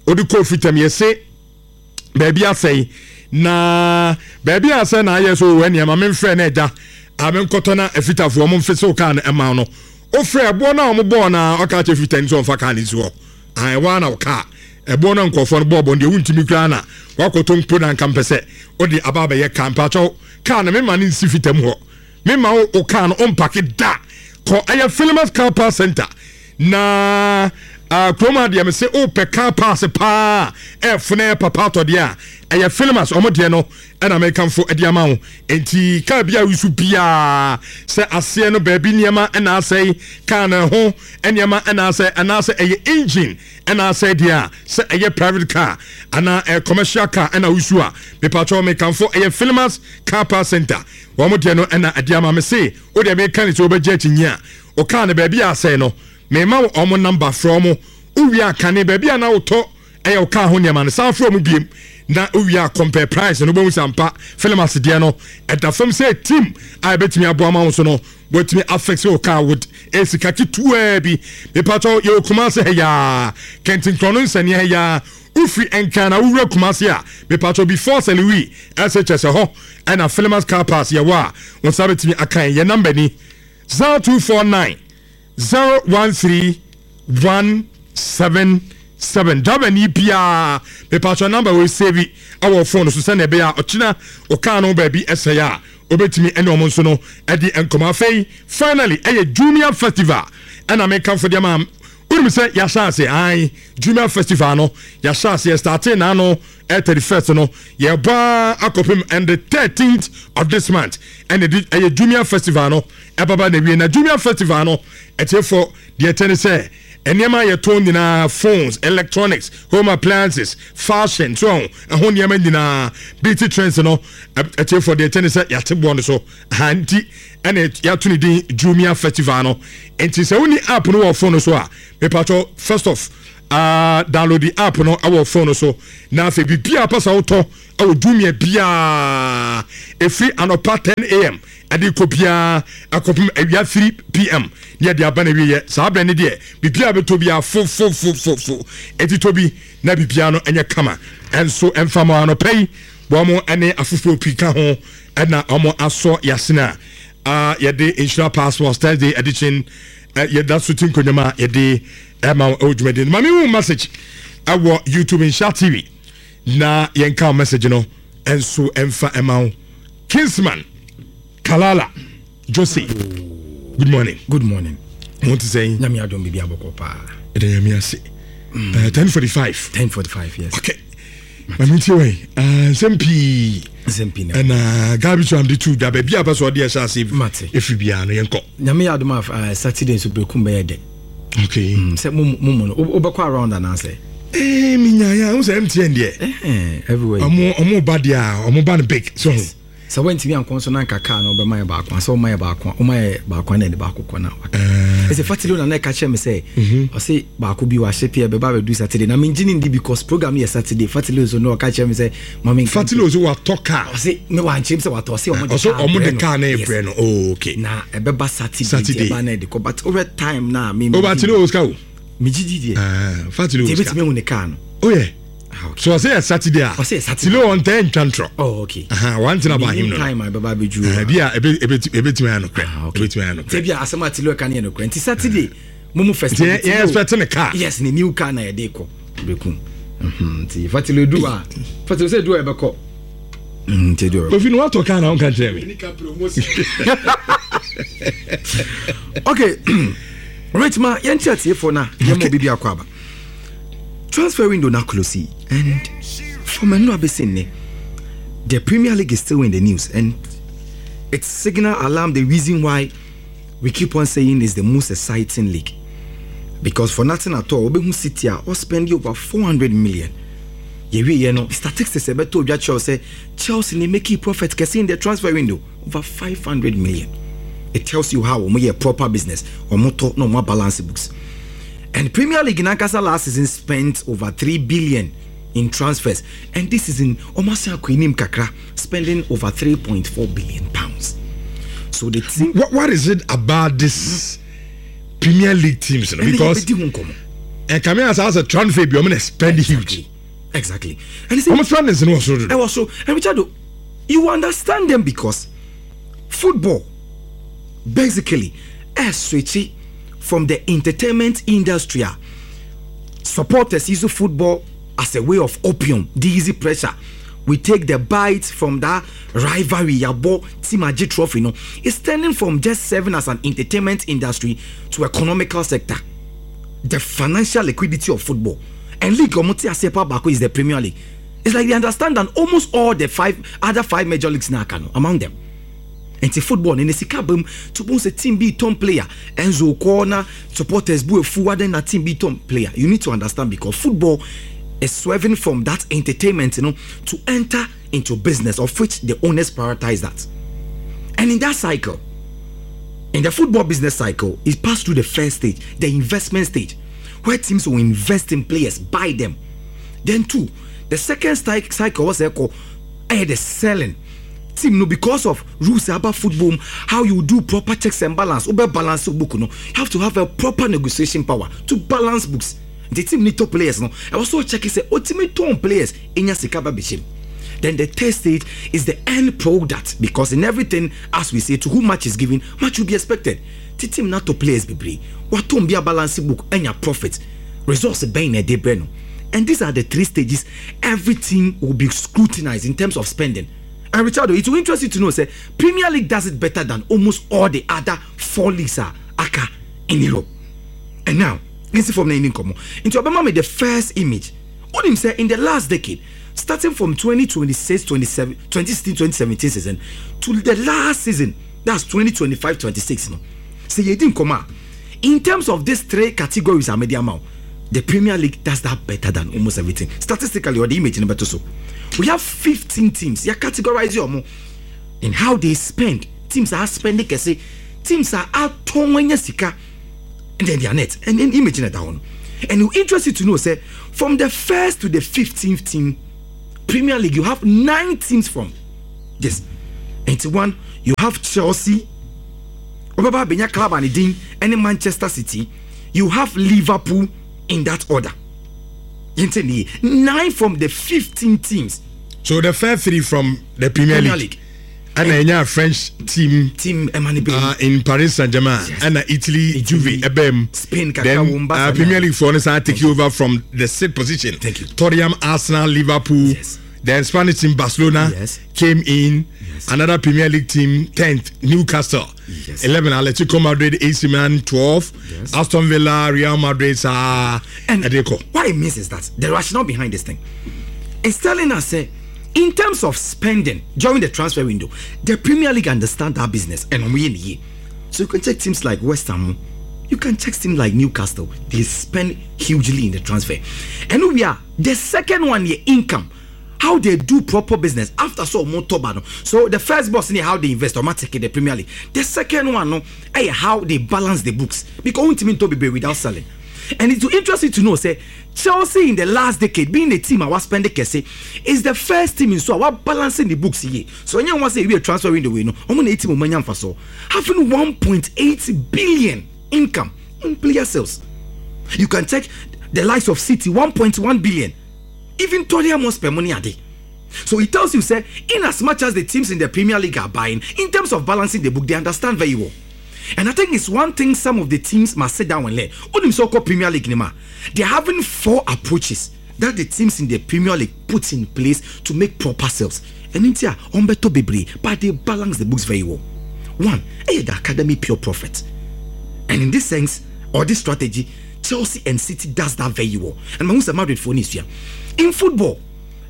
wode kɔɔ fitam, yɛse baabi asɛe, na baabi asɛe na ayɛ so wɔ nneɛma. Memfrɛ no agya a menkɔtɔ na afitafoɔ mo mfe sɛ wo kaa no ɛma no. Wofrɛ ɛboɔ no a ɔmo bɔɔ na ɔka kyerɛ fitani sɛ ɔmfa kaa no nsi hɔ ɛwɔ na wo kaa ɛboɔ no nkɔfoɔ no bɔɔbɔ deɛ wontumi koraa na wakɔtɔ mpo na nka mpɛ sɛ wode aba abɛyɛ kaa. Mpakyɛw, kaa no mema no nsi fitam hɔ. Mema wo kaa no ɔmpake da kɔ ɛyɛ Philemas Car Park Center na uh, kurom adeɛ me sɛ wopɛ car parts paa ɛfone papa atɔdeɛ a, ɛyɛ Philemas ɔmo deɛ no ɛna mekamfo ɛde ama wo. Enti kaa bi a wosu biaa sɛ aseɛ no baabi nneɛma ɛna asɛe, kaa no ho nneɛma ɛna asɛe, anaasɛ ɛyɛ engine ɛna asɛe deɛ a, sɛ ɛyɛ private car anaa ɛyɛ commercial car ɛna wosu a, mepakyɛw, mekamfo ɛyɛ Philemas Car Park Center wɔn deɛ no ɛna ɛde ama me. Se wodeɛ meka ne sɛ wobɛgye akyinyi a, ɔkaa no baabi a asɛe no, mema ɔmo number, frɛ ɔmo. Wowie a, kane baabi a na wotɔ ɛyɛ wo kaa ho nneɛma no, san frɛ ɔmo biem na wowie a, compare price no, wobɛhu sɛ ampa Philemas deɛ no ɛda fam sɛ team a ɛbɛtumi aboa ma wo so no wɔatumi afix wo car with esika ketewaa bi. Mepatɔ, yɛwɔ Kumase ha yaa, Kɛntinkorɔ no nsɛnea ha yaa. Wofiri Nkran na wowura Kumase a, mepatɔ, before Sɛlewi ɛsɛ kyɛ sɛ hɔ ɛna Philemas Car Parts yɛwɔ a wɔn nsa bɛtumi akan. Yɛ number ni: zero two four nine zero one three one seven seven. Driver ni biara, mepatɔ, number wei save ɛwɔ phone so sɛnea ɛbɛyɛ a ɔkyena ɔkaa no baabi ɛsɛe a Wobɛtumi ɛne ɔmo nso no ɛde nkɔmɔ. Afei finally, ɛyɛ Jumia Festival ɛna mekamfo deɛ ma wonim sɛ yɛahyɛ ase ae. Jumia Festival no yɛahyɛ ase, yɛstarte naano ɛ thirty-first no, yɛbɔ akɔpem and the thirteenth of this month ɛna ɛde ɛyɛ Jumia Festival no ɛbaba na wie. Na Jumia Festival no, ɛtiɛfo deɛ ɛtɛ ne sɛ nneɛma a yɛtɔn nyinaa, phones, electronics, home appliances, fashion so ɛho nneɛma nyinaa, beauty trends no, ɛtiɛfo deɛ ɛtɛ ne sɛ yɛate boɔ no so aha nti ɛna yɛato ne din Jumia Festival no. Nti sɛ woni app no wɔ phone no so a, mepatɔ, first off, uh, download the app no ɛwɔ phone no so, na afei biribiara pɛ sɛ wotɔ ɛwɔ Jumia biara, ɛfiri anɔpa ten a m ɛde kɔ biara akɔpem awia three p m ne yɛde aba no awieɛ. Saa berɛ ne deɛ biribiara bɛtɔ biara fofofofofo, ɛti tɔ bi na biribiara no ɛnyɛ kama. Ɛnso ɛmfa ma anɔpa yi wɔn ɛne afoforɔ pii ka ho ɛna wɔn asɔ yasena a yɛde Nhyira Passports Thursday edition yɛda so ti nkonnwa a yɛde ɛma ɛwɔ dwumadie no. Maame hu message ɛwɔ YouTube Nhyira T V na yɛnka message no ɛnso ɛmfa ɛma wo. Kingsman Kalala Jose, good morning. Good morning. Mo ti sɛn? Nyame adom, biribi abɔkɔ paa. Ɛda Nyame ase. Ten forty five. Ten forty five, yes. Okay, maame ntie wɛn nsɛm pii. Nsɛm pii na ɛna Gabi so am de tu dwa baabi a pɛ sɛ ɔde ɛhyɛ ase. Mate. Ɛfiri biara no, yɛnkɔ. Nyame yɛ adom a, uh, Saturday nso Brekum bɛyɛ dɛ. Okay. mm, sɛ mo mo no wobɛkɔ around anaasɛ? Ee, menyaeɛ a wo sɛ M T N deɛ Eh, everywhere. ɔmo ɔmo ba deɛ a, ɔmo ba no big so ho. Sɛ woantumi ankɔ nso na nka kaa no wobɛma yɛ baako a, sɛ woma yɛ baako a, woma yɛ baako a na ɛde baako kɔ na waka. Ɛsɛ Fatilo na na ɛka kyerɛ me sɛ ɔse baako bi wahyɛ pia bɛba bɛdu Saturday, na mengye ne ndi because program no yɛ Saturday. Fatilo nso na ɔka kyerɛ me sɛ ma menka. Fatilo so watɔ kaa? Ɔse me wankyerɛ m sɛ watɔ, ɔse ɔmo de ɔso kaa ɔmo de brɛ no. kaa na Yes. ɛbrɛ no. Oh, okay. Na ɛbɛba Saturday. Saturday. Nti ɛba na ɛde kɔ, but wohwɛ time na me o ba tilo o sika o. Megye di deɛ. Ah, Fatilo nti o sika. ɛbɛtumi ahu ne kaa no. Oh yeah. Ah, okay. So ɔsɛ yɛ Saturday a. Ɔsɛ yɛ Saturday. Tilo ɔntɛ ntwa ntorɔ. Oh, okay. Aha, one thing about him Menim no time a ɛbɛba abɛduru. Ah, bi a ebe ebe ebetumi ayɛ nokorɛ. Ah, okay. Ebetumi ayɛ sɛ nokorɛ. bi a asɛm a Tilo ɛka no yɛ nokorɛ, nti Saturday mo mu first. Nti yɛ yɛ expect ne car. Yes, ne new car na yɛde kɔ Brekum. Mhm, nti Fatilo edu a, Fatilo sɛ edu a ɛbɛkɔ. Mhm, nti edu a ɛbɛkɔ. Kofi no watɔ car na ɔnka kyerɛ me. Okay, right, ma yɛnkyerɛ atiefoɔ no a yɛma obi bi akɔ aba. Transfer window na close yi, and from ɛno abɛsi nnɛ, the Premier League is still in the news and it's signal alarm. The reason why we keep on saying is the most exciting league, because for nothing at all, wobɛhu City a ɔspend over four hundred million. Yɛwieɛ no, statistics ɛbɛtɔ odwa kyerɛw sɛ Chelsea ne making profit kɛse in the transfer window, over five hundred million. It tells you how wɔn yɛ proper business, wɔn tɔ na wɔn balance books. And Premier League nankasa last season spent over three billion in transfers, and this season wɔn asan akɔ anim kakra, spending over three point four billion pounds. So the team What, what is it about this Premier League teams no? Because ɛbɛdi ho nkɔmɔ. ɛkame asa asɛ transfer bi ɔmo na spend huge. Exactly, and it's Ɔmo spendings no wɔ soro dodo. Ɛwɔ so. And Richard, you understand them because football basically ɛ switch from the entertainment industry a supporters use football as a way of opium, the easy pressure. We take the bite from that rivalry, yabɔ team agye trophy no. It's turning from just serving as an entertainment industry to economical sector. The financial liquidity of football and league ɔmo te aseɛ pa baako is the Premier League. It's like they understand that almost all the five other five major leagues na aka no among them. Nti football ne ne sika bam to bo sɛ team bi tɔn player, Enzo kɔ na supporters bu efu adan na team bi tɔn player. You need to understand, because football is swerving from that entertainment you know, to enter into business, of which the owners prioritize that. And in that cycle, in the football business cycle, it passed through the first stage, the investment stage, where teams will invest in players, buy them. Then two, the second cycle was called eh, the selling team no, because of rules about football, how you do proper checks and balance, over balance book no, you have to have a proper negotiation power to balance books. The team need top players no, I also check sɛ ultimate tɔn players enya sika ba bɛhyɛ. Then the third stage is the end product, because in everything, as we say, to whom much is given, much will be expected. Ti team na top players bebree watɔn bi a balance book enya profit, results bɛn na ɛde brɛ no. And these are the three stages every team will be scrutinized in terms of spending. And Richard, it will interest you to know sɛ Premier League does it better than almost all the other four leagues a aka in Europe. And now, nsi fam na yɛni nkɔmmɔ. Nti ɔbɛma me the first image. Wonim sɛ in the last decade, starting from twenty twenty-six twenty-seven, twenty sixteen twenty seventeen season to the last season, that's twenty twenty-five twenty-six no, sɛ yɛdi nkɔmmɔ a, in terms of these three categories a mede ama wo, the Premier League does that better than almost everything statistically. Ɔde image no bɛto so. We have fifteen teams. Yɛ categorize ɔmo in how they spend. Teams are spending kɛse, teams are atɔn anya sika, and then their net and then image no da hɔ no. And it will interest you to know sɛ from the first to the fifteenth team, Premier League, you have nine teams from this. Nti one, you have Chelsea, ɔbɛba abɛnya club a ne din ɛne Manchester City. You have Liverpool, in that order. Yɛnte ne nine from the fifteen teams. So the first three from the Premier, Premier League. League. Ɛna ɛnya French team team ɛma ne bɛn uh, in Paris Saint-Germain. Yes. Ɛna Italy, Juve ɛbɛm. Spain kakra then wɔ Barca uh, na- Premier League foɔ no san take over from the sixth position. Thank you. Tottenham, Arsenal, Liverpool. Yes. Then Spanish team Barcelona Yes. came in. Yes. Another Premier League team, tenth, Newcastle. Yes. eleven, Atletico Madrid, A C Milan, twelve. Yes. Aston Villa, Real Madrid, saa And ɛde kɔ. what it means is that the rationale behind this thing is telling us sɛ, in terms of spending during the transfer window, the Premier League understand that business and we in here. So you can check teams like West Ham, you can check teams like Newcastle. They spend hugely in the transfer. And we are the second one here, income. How they do proper business after so more top. So the first boss in how they invest automatically the Premier League. The second one no, eh, how they balance the books, because only to be without selling. And it's interesting to know sɛ Chelsea in the last decade, being a team a was spending kɛse, is the first team in so a balancing the books here. So when you want sɛ we a transfer window we no, ɔmo na team ɔmo nya so having one point eight billion income in player sales. You can check the likes of City, one point one billion. Even Tottenham Hotspur money ade. So it tells you sɛ in as much as the teams in the Premier League are buying, in terms of balancing the book, they understand very well. And I think it's one thing some of the teams must sit down and learn. Onim sɛ ɔkɔ Premier League ni ma, they're having four approaches that the teams in the Premier League put in place to make proper sales. And in here, ɔmbɛtɔ bebree, but they balance the books very well. One, eh, the academy pure profit. And in this sense, or this strategy, Chelsea and City does that very well. And Mahusa Madrid for this year. In football,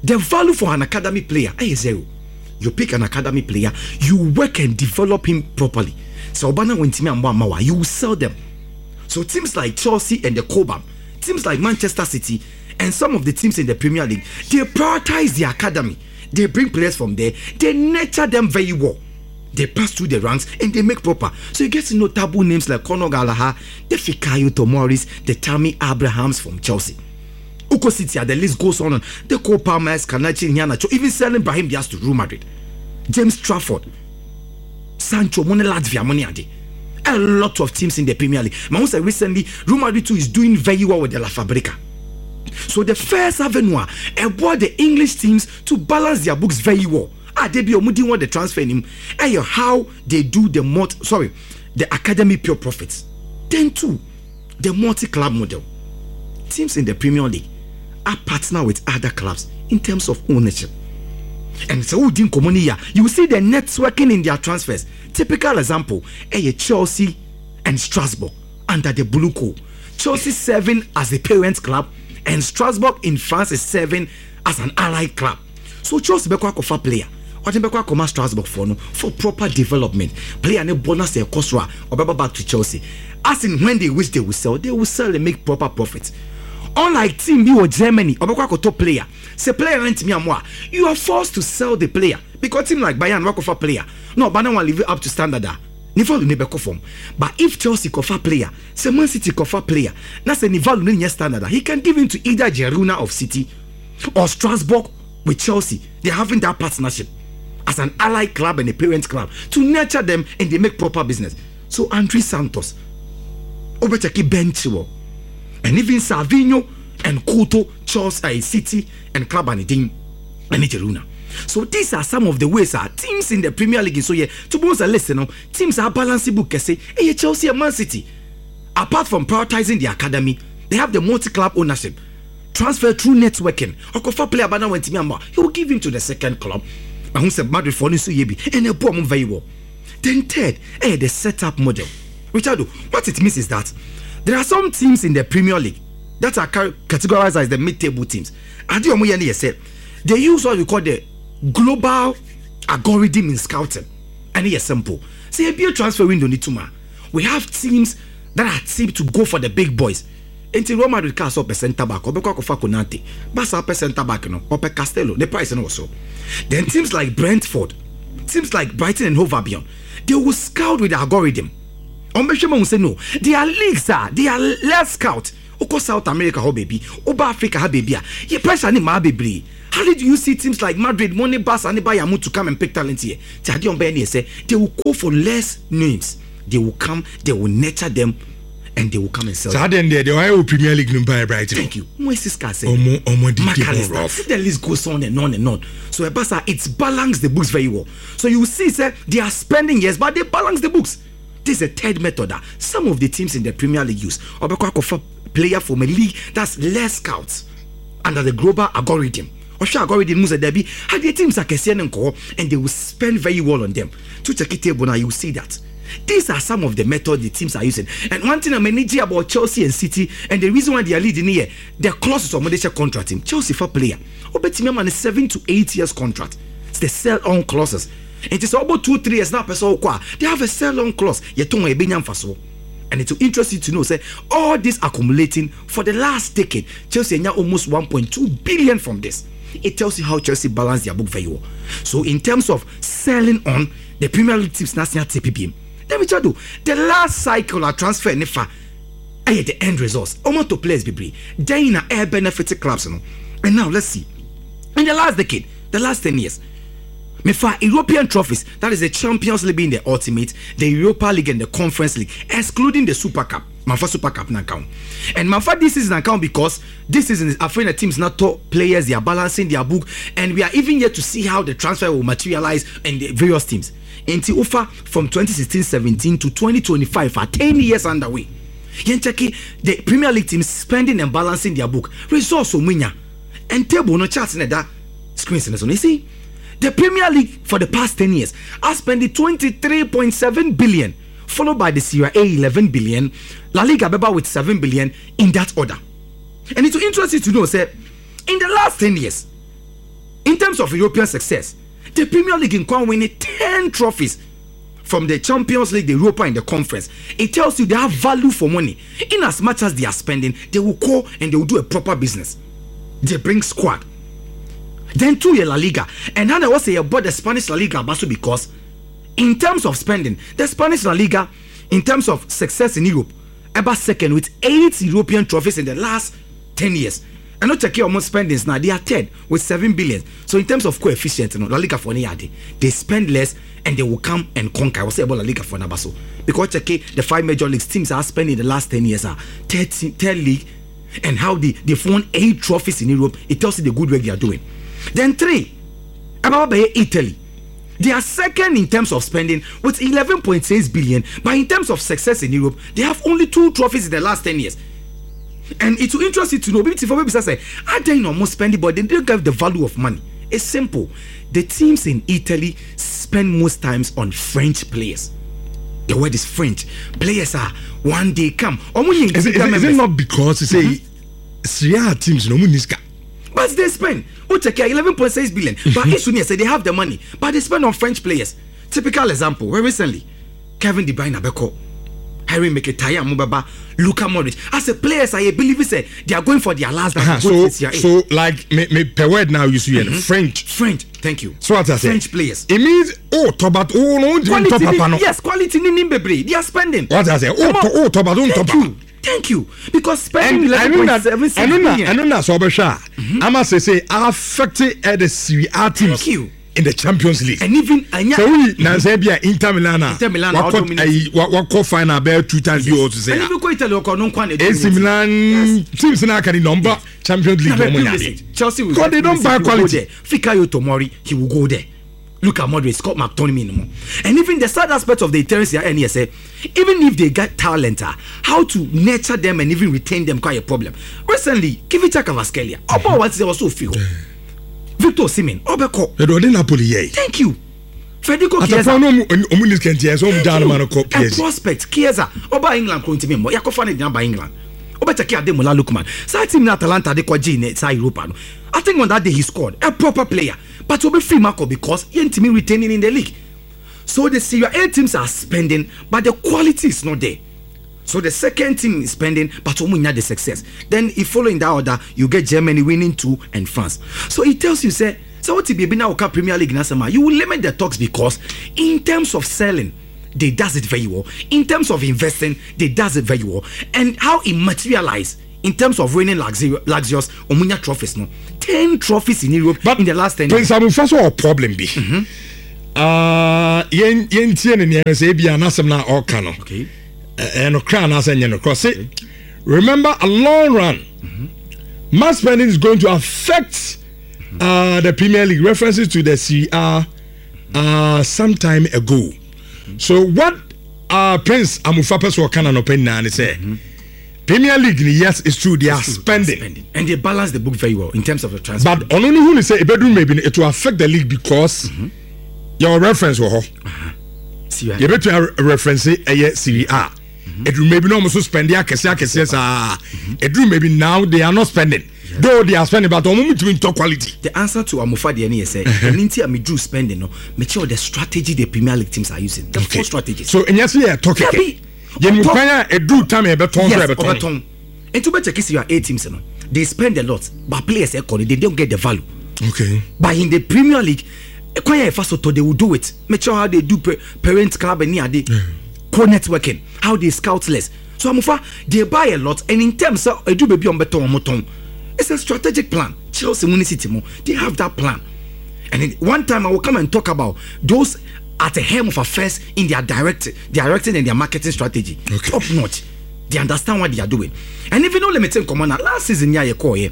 the value for an academy player eh, is zero. You pick an academy player, you work and develop him properly. So Obana went and you will sell them. So teams like Chelsea and the Cobham, teams like Manchester City, and some of the teams in the Premier League, they prioritize the academy. They bring players from there, they nurture them very well. They pass through the ranks and they make proper. So you get to know taboo names like Conor Gallagher, the Fikayo Tomoris, the Tammy Abrahams from Chelsea. Uko City, the list goes on. The Cole Palmers, Kanachi Iheanacho, even selling Brahim Diaz to Real Madrid. James Trafford, Sancho, Money Latvia, Money Ade. A lot of teams in the Premier League. Mahusa recently, Real Madrid too is doing very well with the La Fabrica. So the first avenue about the English teams to balance their books very well. Ah, they be ɔmo want the transfer him. Eh, how they do the multi, sorry, the academy pure profits. Then two, the multi-club model. Teams in the Premier League are partner with other clubs in terms of ownership. And so within Komonia, you will see the networking in their transfers. Typical example, eh, Chelsea and Strasbourg under the Blue Co. Chelsea serving as the parent club, and Strasbourg in France is serving as an allied club. So Chelsea bɛkɔ akɔfa player, ɔde bɛkɔ akɔma Strasbourg for no for proper development. Player ne bonus ɛkɔ so a ɔbɛba back to Chelsea. As in when they wish they will sell, they will sell and make proper profit. Unlike team bi wɔ Germany, ɔbɛkɔ akɔtɔ player, sɛ player no ntumi amoa, you are forced to sell the player, because team like Bayern wakɔfa player na ɔba na wɔn live up to standard a, ne value ne bɛkɔ fam. But if Chelsea kɔfa player, sɛ Man City kɔfa player na sɛ ne value ne nyɛ standard a, he can give him to either Girona of City or Strasbourg with Chelsea. They are having that partnership as an allied club and a parent club to nurture them, and they make proper business. So Andre Santos, wobɛkyɛke Ben Chilwell, and even Savinho and Couto, Chelsea, uh, City and club and din and Girona. So these are some of the ways our teams in the Premier League. So yeah, to be honest, listen, no, teams are balancing book. Say, hey, Chelsea and Man City, apart from prioritizing the academy, they have the multi-club ownership, transfer through networking. Ɔkɔfa player bana went me, he will give him to the second club. Mahu sɛ Madrid foɔ no nso yɛ bi ɛna ɛbɔ ɔmo very well. Then third, ɛyɛ the setup model. Richard, what it means is that there are some teams in the Premier League that are categorized as the mid-table teams. Ade ɔmo yɛ no yɛ sɛ they use what we call the global algorithm in scouting. Ɛne yɛ simple sɛ ebie transfer window ni tuma, we have teams that are tipped to go for the big boys. Nti Real Madrid kaa sɛ ɔpɛ centre back, ɔbɛkɔ akɔfa Konate. Barca ɔpɛ centre back no, ɔpɛ Cancelo, ne price no wɔ so. Then teams like Brentford, teams like Brighton and Hove Albion, they will scout with the algorithm. Ɔmbɛhwɛ ma hu sɛ no, their leagues a they are less scout. Wokɔ South America hɔ baabi, woba Africa ha baabi a yɛ pressure ne maa bebree. How did you see teams like Madrid mo ne Barca ne Bayern mo to come and pick talent here? Ti adeɛ ɔmbɛyɛ ne yɛ sɛ they will go for less names. They will come, they will nurture them and they will come and sell. Saa deɛ deɛ deɛ ɔyɛ wɔ Premier League no mpa yɛ Brighton. Thank you. Moises Caicedo, ɔmo ɔmo di di Mac Allister, rough. The list goes on and on and on. So Ebasa, it's balance the books very well. So you see sɛ they are spending, yes, but they balance the books. This is a third method that some of the teams in the Premier League use. Ɔbɛkɔ akɔfa player from a league that's less scouts under the global algorithm. Ɔhwɛ algorithm mu sɛ dabi, adeɛ teams akɛseɛ ne nkɔɔ, and they will spend very well on them. To check it table now, you will see that. These are some of the methods the teams are using. And one thing I'm energy about Chelsea and City, and the reason why they are leading here, the clauses of money contract team. Chelsea for player, obetumi ama ne seven to eight years contract. It's the sell on clauses. It is about two three years now. Person they have a sell on clause. Yɛtɔn ebenya mfaso. And it will interest you to know, sɛ, all this accumulating for the last decade, Chelsea now almost one point two billion from this. It tells you how Chelsea balance their book very well. So in terms of selling on, the Premier League teams now T P B. Then we do the last cycle of transfer nifa ɛyɛ the end results. Ɔmo to players bebree. Then na air benefit clubs no. And now let's see. In the last decade, the last ten years, mefa European trophies, that is the Champions League being the ultimate, the Europa League and the Conference League, excluding the Super Cup. Mafa Super Cup na count. And mafa this season account because this season is afraid the teams not top players, they are balancing their book, and we are even yet to see how the transfer will materialize in the various teams. Nti wofa from twenty sixteen seventeen to twenty twenty-five are ten years underway. Yɛn check the Premier League teams spending and balancing their book. Results omunya. And table no charts na that screens no so. You see, the Premier League for the past ten years has spent twenty-three point seven billion, followed by the Serie A eleven billion, La Liga beba with seven billion, in that order. And it will interest you to know, sɛ, in the last ten years, in terms of European success, the Premier League in Kwan winning ten trophies from the Champions League, the Europa, and the Conference. It tells you they have value for money. In as much as they are spending, they will call and they will do a proper business. They bring squad. Then two year La Liga. And now I was say about the Spanish La Liga also because in terms of spending, the Spanish La Liga, in terms of success in Europe, about second with eight European trophies in the last ten years. And not check your spendings now, they are third with seven billion. So in terms of coefficient, you know, La Liga for any they spend less and they will come and conquer. I will say about La Liga for Nabaso. Because check the five major leagues teams are spending the last ten years are thirteen, third league, and how they, they've won eight trophies in Europe. It tells you the good work they are doing. Then three, about Italy. They are second in terms of spending with eleven point six billion, but in terms of success in Europe, they have only two trophies in the last ten years. And it will interest you to know, maybe for maybe sɛ, are they no more spending, but they don't get the value of money. It's simple. The teams in Italy spend most times on French players. The word is French. Players are one day come. Is it, is it, is it not because you say mm-hmm. Serie A teams no money? But they spend. Oh, check here, eleven point six billion. But issue sɛ they have the money, but they spend on French players. Typical example, very recently, Kevin De Bruyne abɛkɔ, Henrikh Mkhitaryan mo bɛba, Luka Modric. As a players, I believe sɛ they are going for their last. Uh-huh. So, so like me, me per word now you see mm-hmm. French. French, thank you. So what I say? French players. It means oh, top but oh no, quality top papa no. Yes, quality ni nim bebree. They are spending. What I say? Oh, to, oh, top but don't top. Thank you. Thank you. Because spending eleven point seven six billion. I know that so mm-hmm. I'ma sɛ sɛ affected the Serie A teams. Thank you. In the Champions League. And even so we na sɛ bi a Inter Milan a Inter Milan wakɔ ayi wakɔ final bɛɛ two times bi o to say. And even ko Italy ɔkɔ no nkwa na A C Milan, yes. Teams na aka ni number Champions League wɔn nya de. Chelsea will because they don't buy quality. Fikayo Tomori, he will go there. Look at Modric, Scott McTominay no more. And even the sad aspect of the Italian Serie A sɛ, even if they get talent, uh, how to nurture them and even retain them quite a problem. Recently, Kvicha Kvaratskhelia, Oba what was so feel. Victor Osimhen ɔbɛkɔ. Ɛdɔ ɔde Napoli yɛ. Thank you, Federico Chiesa. Atapɔ no ɔmu ni kɛntɛ sɛ ɔmu gyaa no ma no kɔ P S G. A prospect, Chiesa, ɔba England kuro ntumi mmɔ, yakɔfa ne gyina ba England. Ɔbɛkyɛke Ademola Lookman, saa team na Atalanta de kɔgye ne saa Europa no. I think on that day he scored, a proper player, but obi free Marco because yɛntumi retaining in the league. So the Serie A teams are spending, but the quality is not there. So the second team is spending, but ɔmo nya the success. Then if following that order, you get Germany winning two and France. So it tells you say, so what if now Premier League na you will limit the talks because in terms of selling, they does it very well. In terms of investing, they does it very well. And how it materialize in terms of winning luxurious Omunya trophies, no, ten trophies in Europe, but in the last ten. Prince Amufa so a problem bi. Uh, yen yen tie ne ne say bi anasem na ɔka no. Okay. And no no. Say, remember, a long run, mm-hmm. mass spending is going to affect uh, the Premier League. References to the Serie A uh, some time ago. Mm-hmm. So what uh, Prince Amufa Peso kana no pen say, mm-hmm. Premier League, yes, it's true, they are true, spending. they are spending, and they balance the book very well in terms of the transfer. But on only who say it maybe it will affect the league because mm-hmm. your reference will uh-huh. You better reference a Serie A. It will maybe no spend the akese akese sa. It will maybe now they are not spending. Yeah. Though they are spending, but omo to talk quality. The answer to Amufa the any say, mm-hmm. and me drew spending no. Make sure the strategy the Premier League teams are using. The okay. four strategies. So and yes, yeah, talk it. You can a do time a beton yes, beton. And to better kiss your eight teams no. They spend a lot, but players they don't get the value. Okay. But in the Premier League, they will do it. Make sure how they do parent club and near they co-networking, how they scout less. So Amufa, they buy a lot, and in terms of do baby on beton moton. It's a strategic plan. Chelsea Muni City, they have that plan. And in, one time I will come and talk about those at the helm of affairs in their direct, directing and their marketing strategy. Okay. Top notch. They understand what they are doing. And even though limited common last season, yeah, in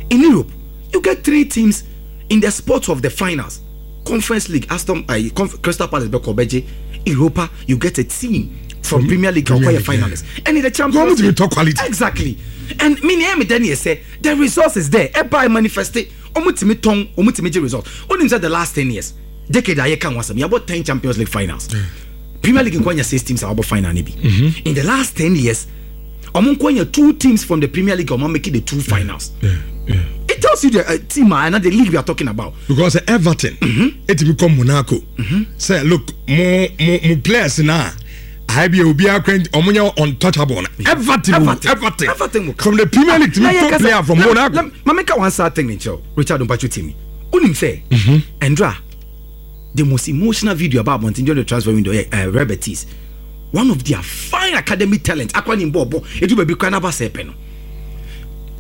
Europe, you get three teams in the spots of the finals. Conference League, Aston, uh, Conf- Crystal Palace, Beko Europa, you get a team from, from Premier League, Premier League, finalists, yeah. And in the Champions League, top quality. Exactly. And me, me, Daniel say the resource is there. Eba manifest it. Omutimi tong, omutimi result. Only inside the last ten years, decade I can was about ten Champions League finals. Yeah. Premier League in Kwanya six teams are about final maybe. Mm-hmm. In the last ten years, Omunkwanya two teams from the Premier League are making the two finals. Yeah. Yeah. It tells you the uh, team and the league we are talking about. Because Everton, mm-hmm. it become Monaco. Mm-hmm. Say, look, more more more players now. I be obi omunya untouchable. Everton, Everton, Everton, Everton from the Premier League to ah, top player from Monaco. Mameka one sad thing, Richard Umpachu Timi. Unim say, Andra, the most emotional video about Montenegro the transfer window, uh, Real Betis, one of their fine academy talent. Akwani Mbobo, it will be Kranaba Sepeno.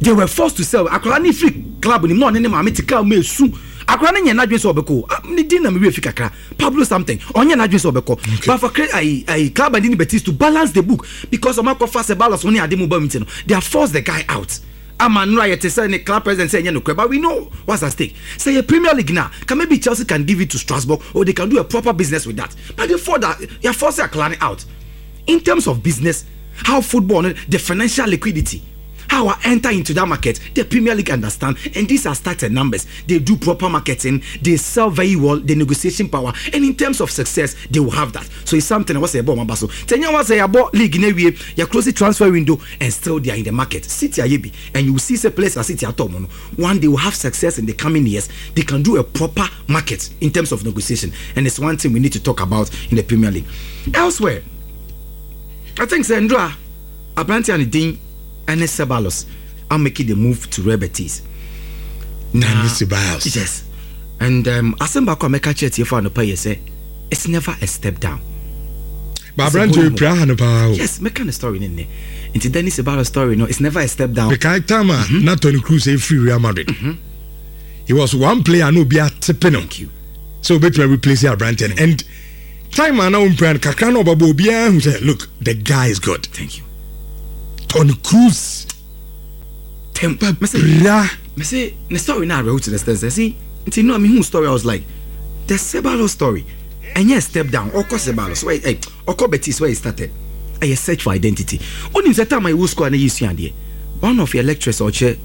They were forced to sell. Akrani free club ni no ne maame tika me su. Akrani nya nadwen so obeko. Ni din na me we fi kakra. Pablo something. Onya nadwen so obeko. But for I I club and Betis to balance the book because Omako fast balance oni ade mo ba meeting. They are forced the guy out. Amanura yet say ne club president say no, but we know what's at stake. Say a Premier League now, can maybe Chelsea can give it to Strasbourg or they can do a proper business with that. But they for that they are forcing Akrani out. In terms of business, how football, the financial liquidity, how I enter into that market, the Premier League understand, and these are started numbers. They do proper marketing, they sell very well, the negotiation power, and in terms of success, they will have that. So it's something I was say about Mabaso. Tenya was say about league in a way, you close the transfer window and still they are in the market. City Ayebi, and you will see a place as City at all. One, they will have success in the coming years. They can do a proper market in terms of negotiation, and it's one thing we need to talk about in the Premier League. Elsewhere, I think Sandra, Abranti and Dean. Dani Ceballos are making the move to Real Betis. Dani Ceballos. Yes. And um Asembako Meka Chetie for no pay say it's never a step down. But Brand to Yes, make a story in there. Into Dani Ceballos story, no, it's never a step down. Because time mm-hmm. not Toni Kroos a free Real Madrid. Mm-hmm. He was one player no be a tipping. Thank you. So better replace your Brandon. And time I now brand Kakano Babu who said, look, the guy is good. Thank you. Toni Kroos. Tempa, me say, the story now I to the extent. See, until no, I mean, who story? I was like, the Ceballos story, and yes, step down. Oko Ceballos, where, hey, Oko Betis, where he started. I search for identity. Only the time I was school and you see and one of your lecturers or chair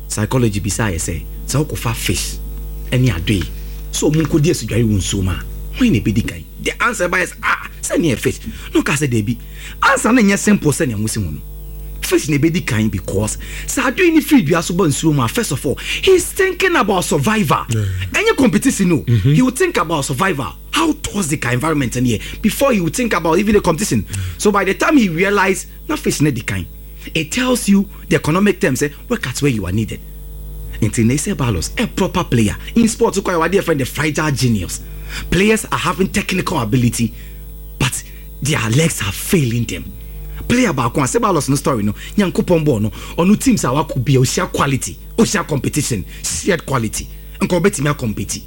psychology beside say, so Oko fa fish, Ɛne adoe so ɔmo nkɔdi asudware wɔ nsuo mu a, hwan na ɛbɛdi kan? The answer by is, ah, sɛneɛ fish no ka sɛ daabi, answer no nyɛ simple sɛnea mo si mu no. Fish na ɛbɛdi kan because sɛ adoe ne firi dua so ba nsuo mu a, first of all, he's thinking about survival. Ɛnyɛ competition no mm-hmm. He will think about survival, how toxic our environment in here, before he will think about even the competition mm. So by the time he realize na fish na di kan, it tells you the economic terms, say work at where you are needed. Nti na Ceballos, a proper player in sports, kɔ yɛ wade friend, the fragile genius. Players are having technical ability, but their legs are failing them. Player baako a Ceballos no story no, Nyankopɔn bɔɔ no, ɔno teams a wakɔ bia, ohyia quality, ohyia competition, shared quality, nka ɔbɛtumi acompete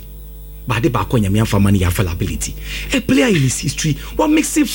baade baako. Nyame afa ma no yɛ availability. A player in his history, what makes it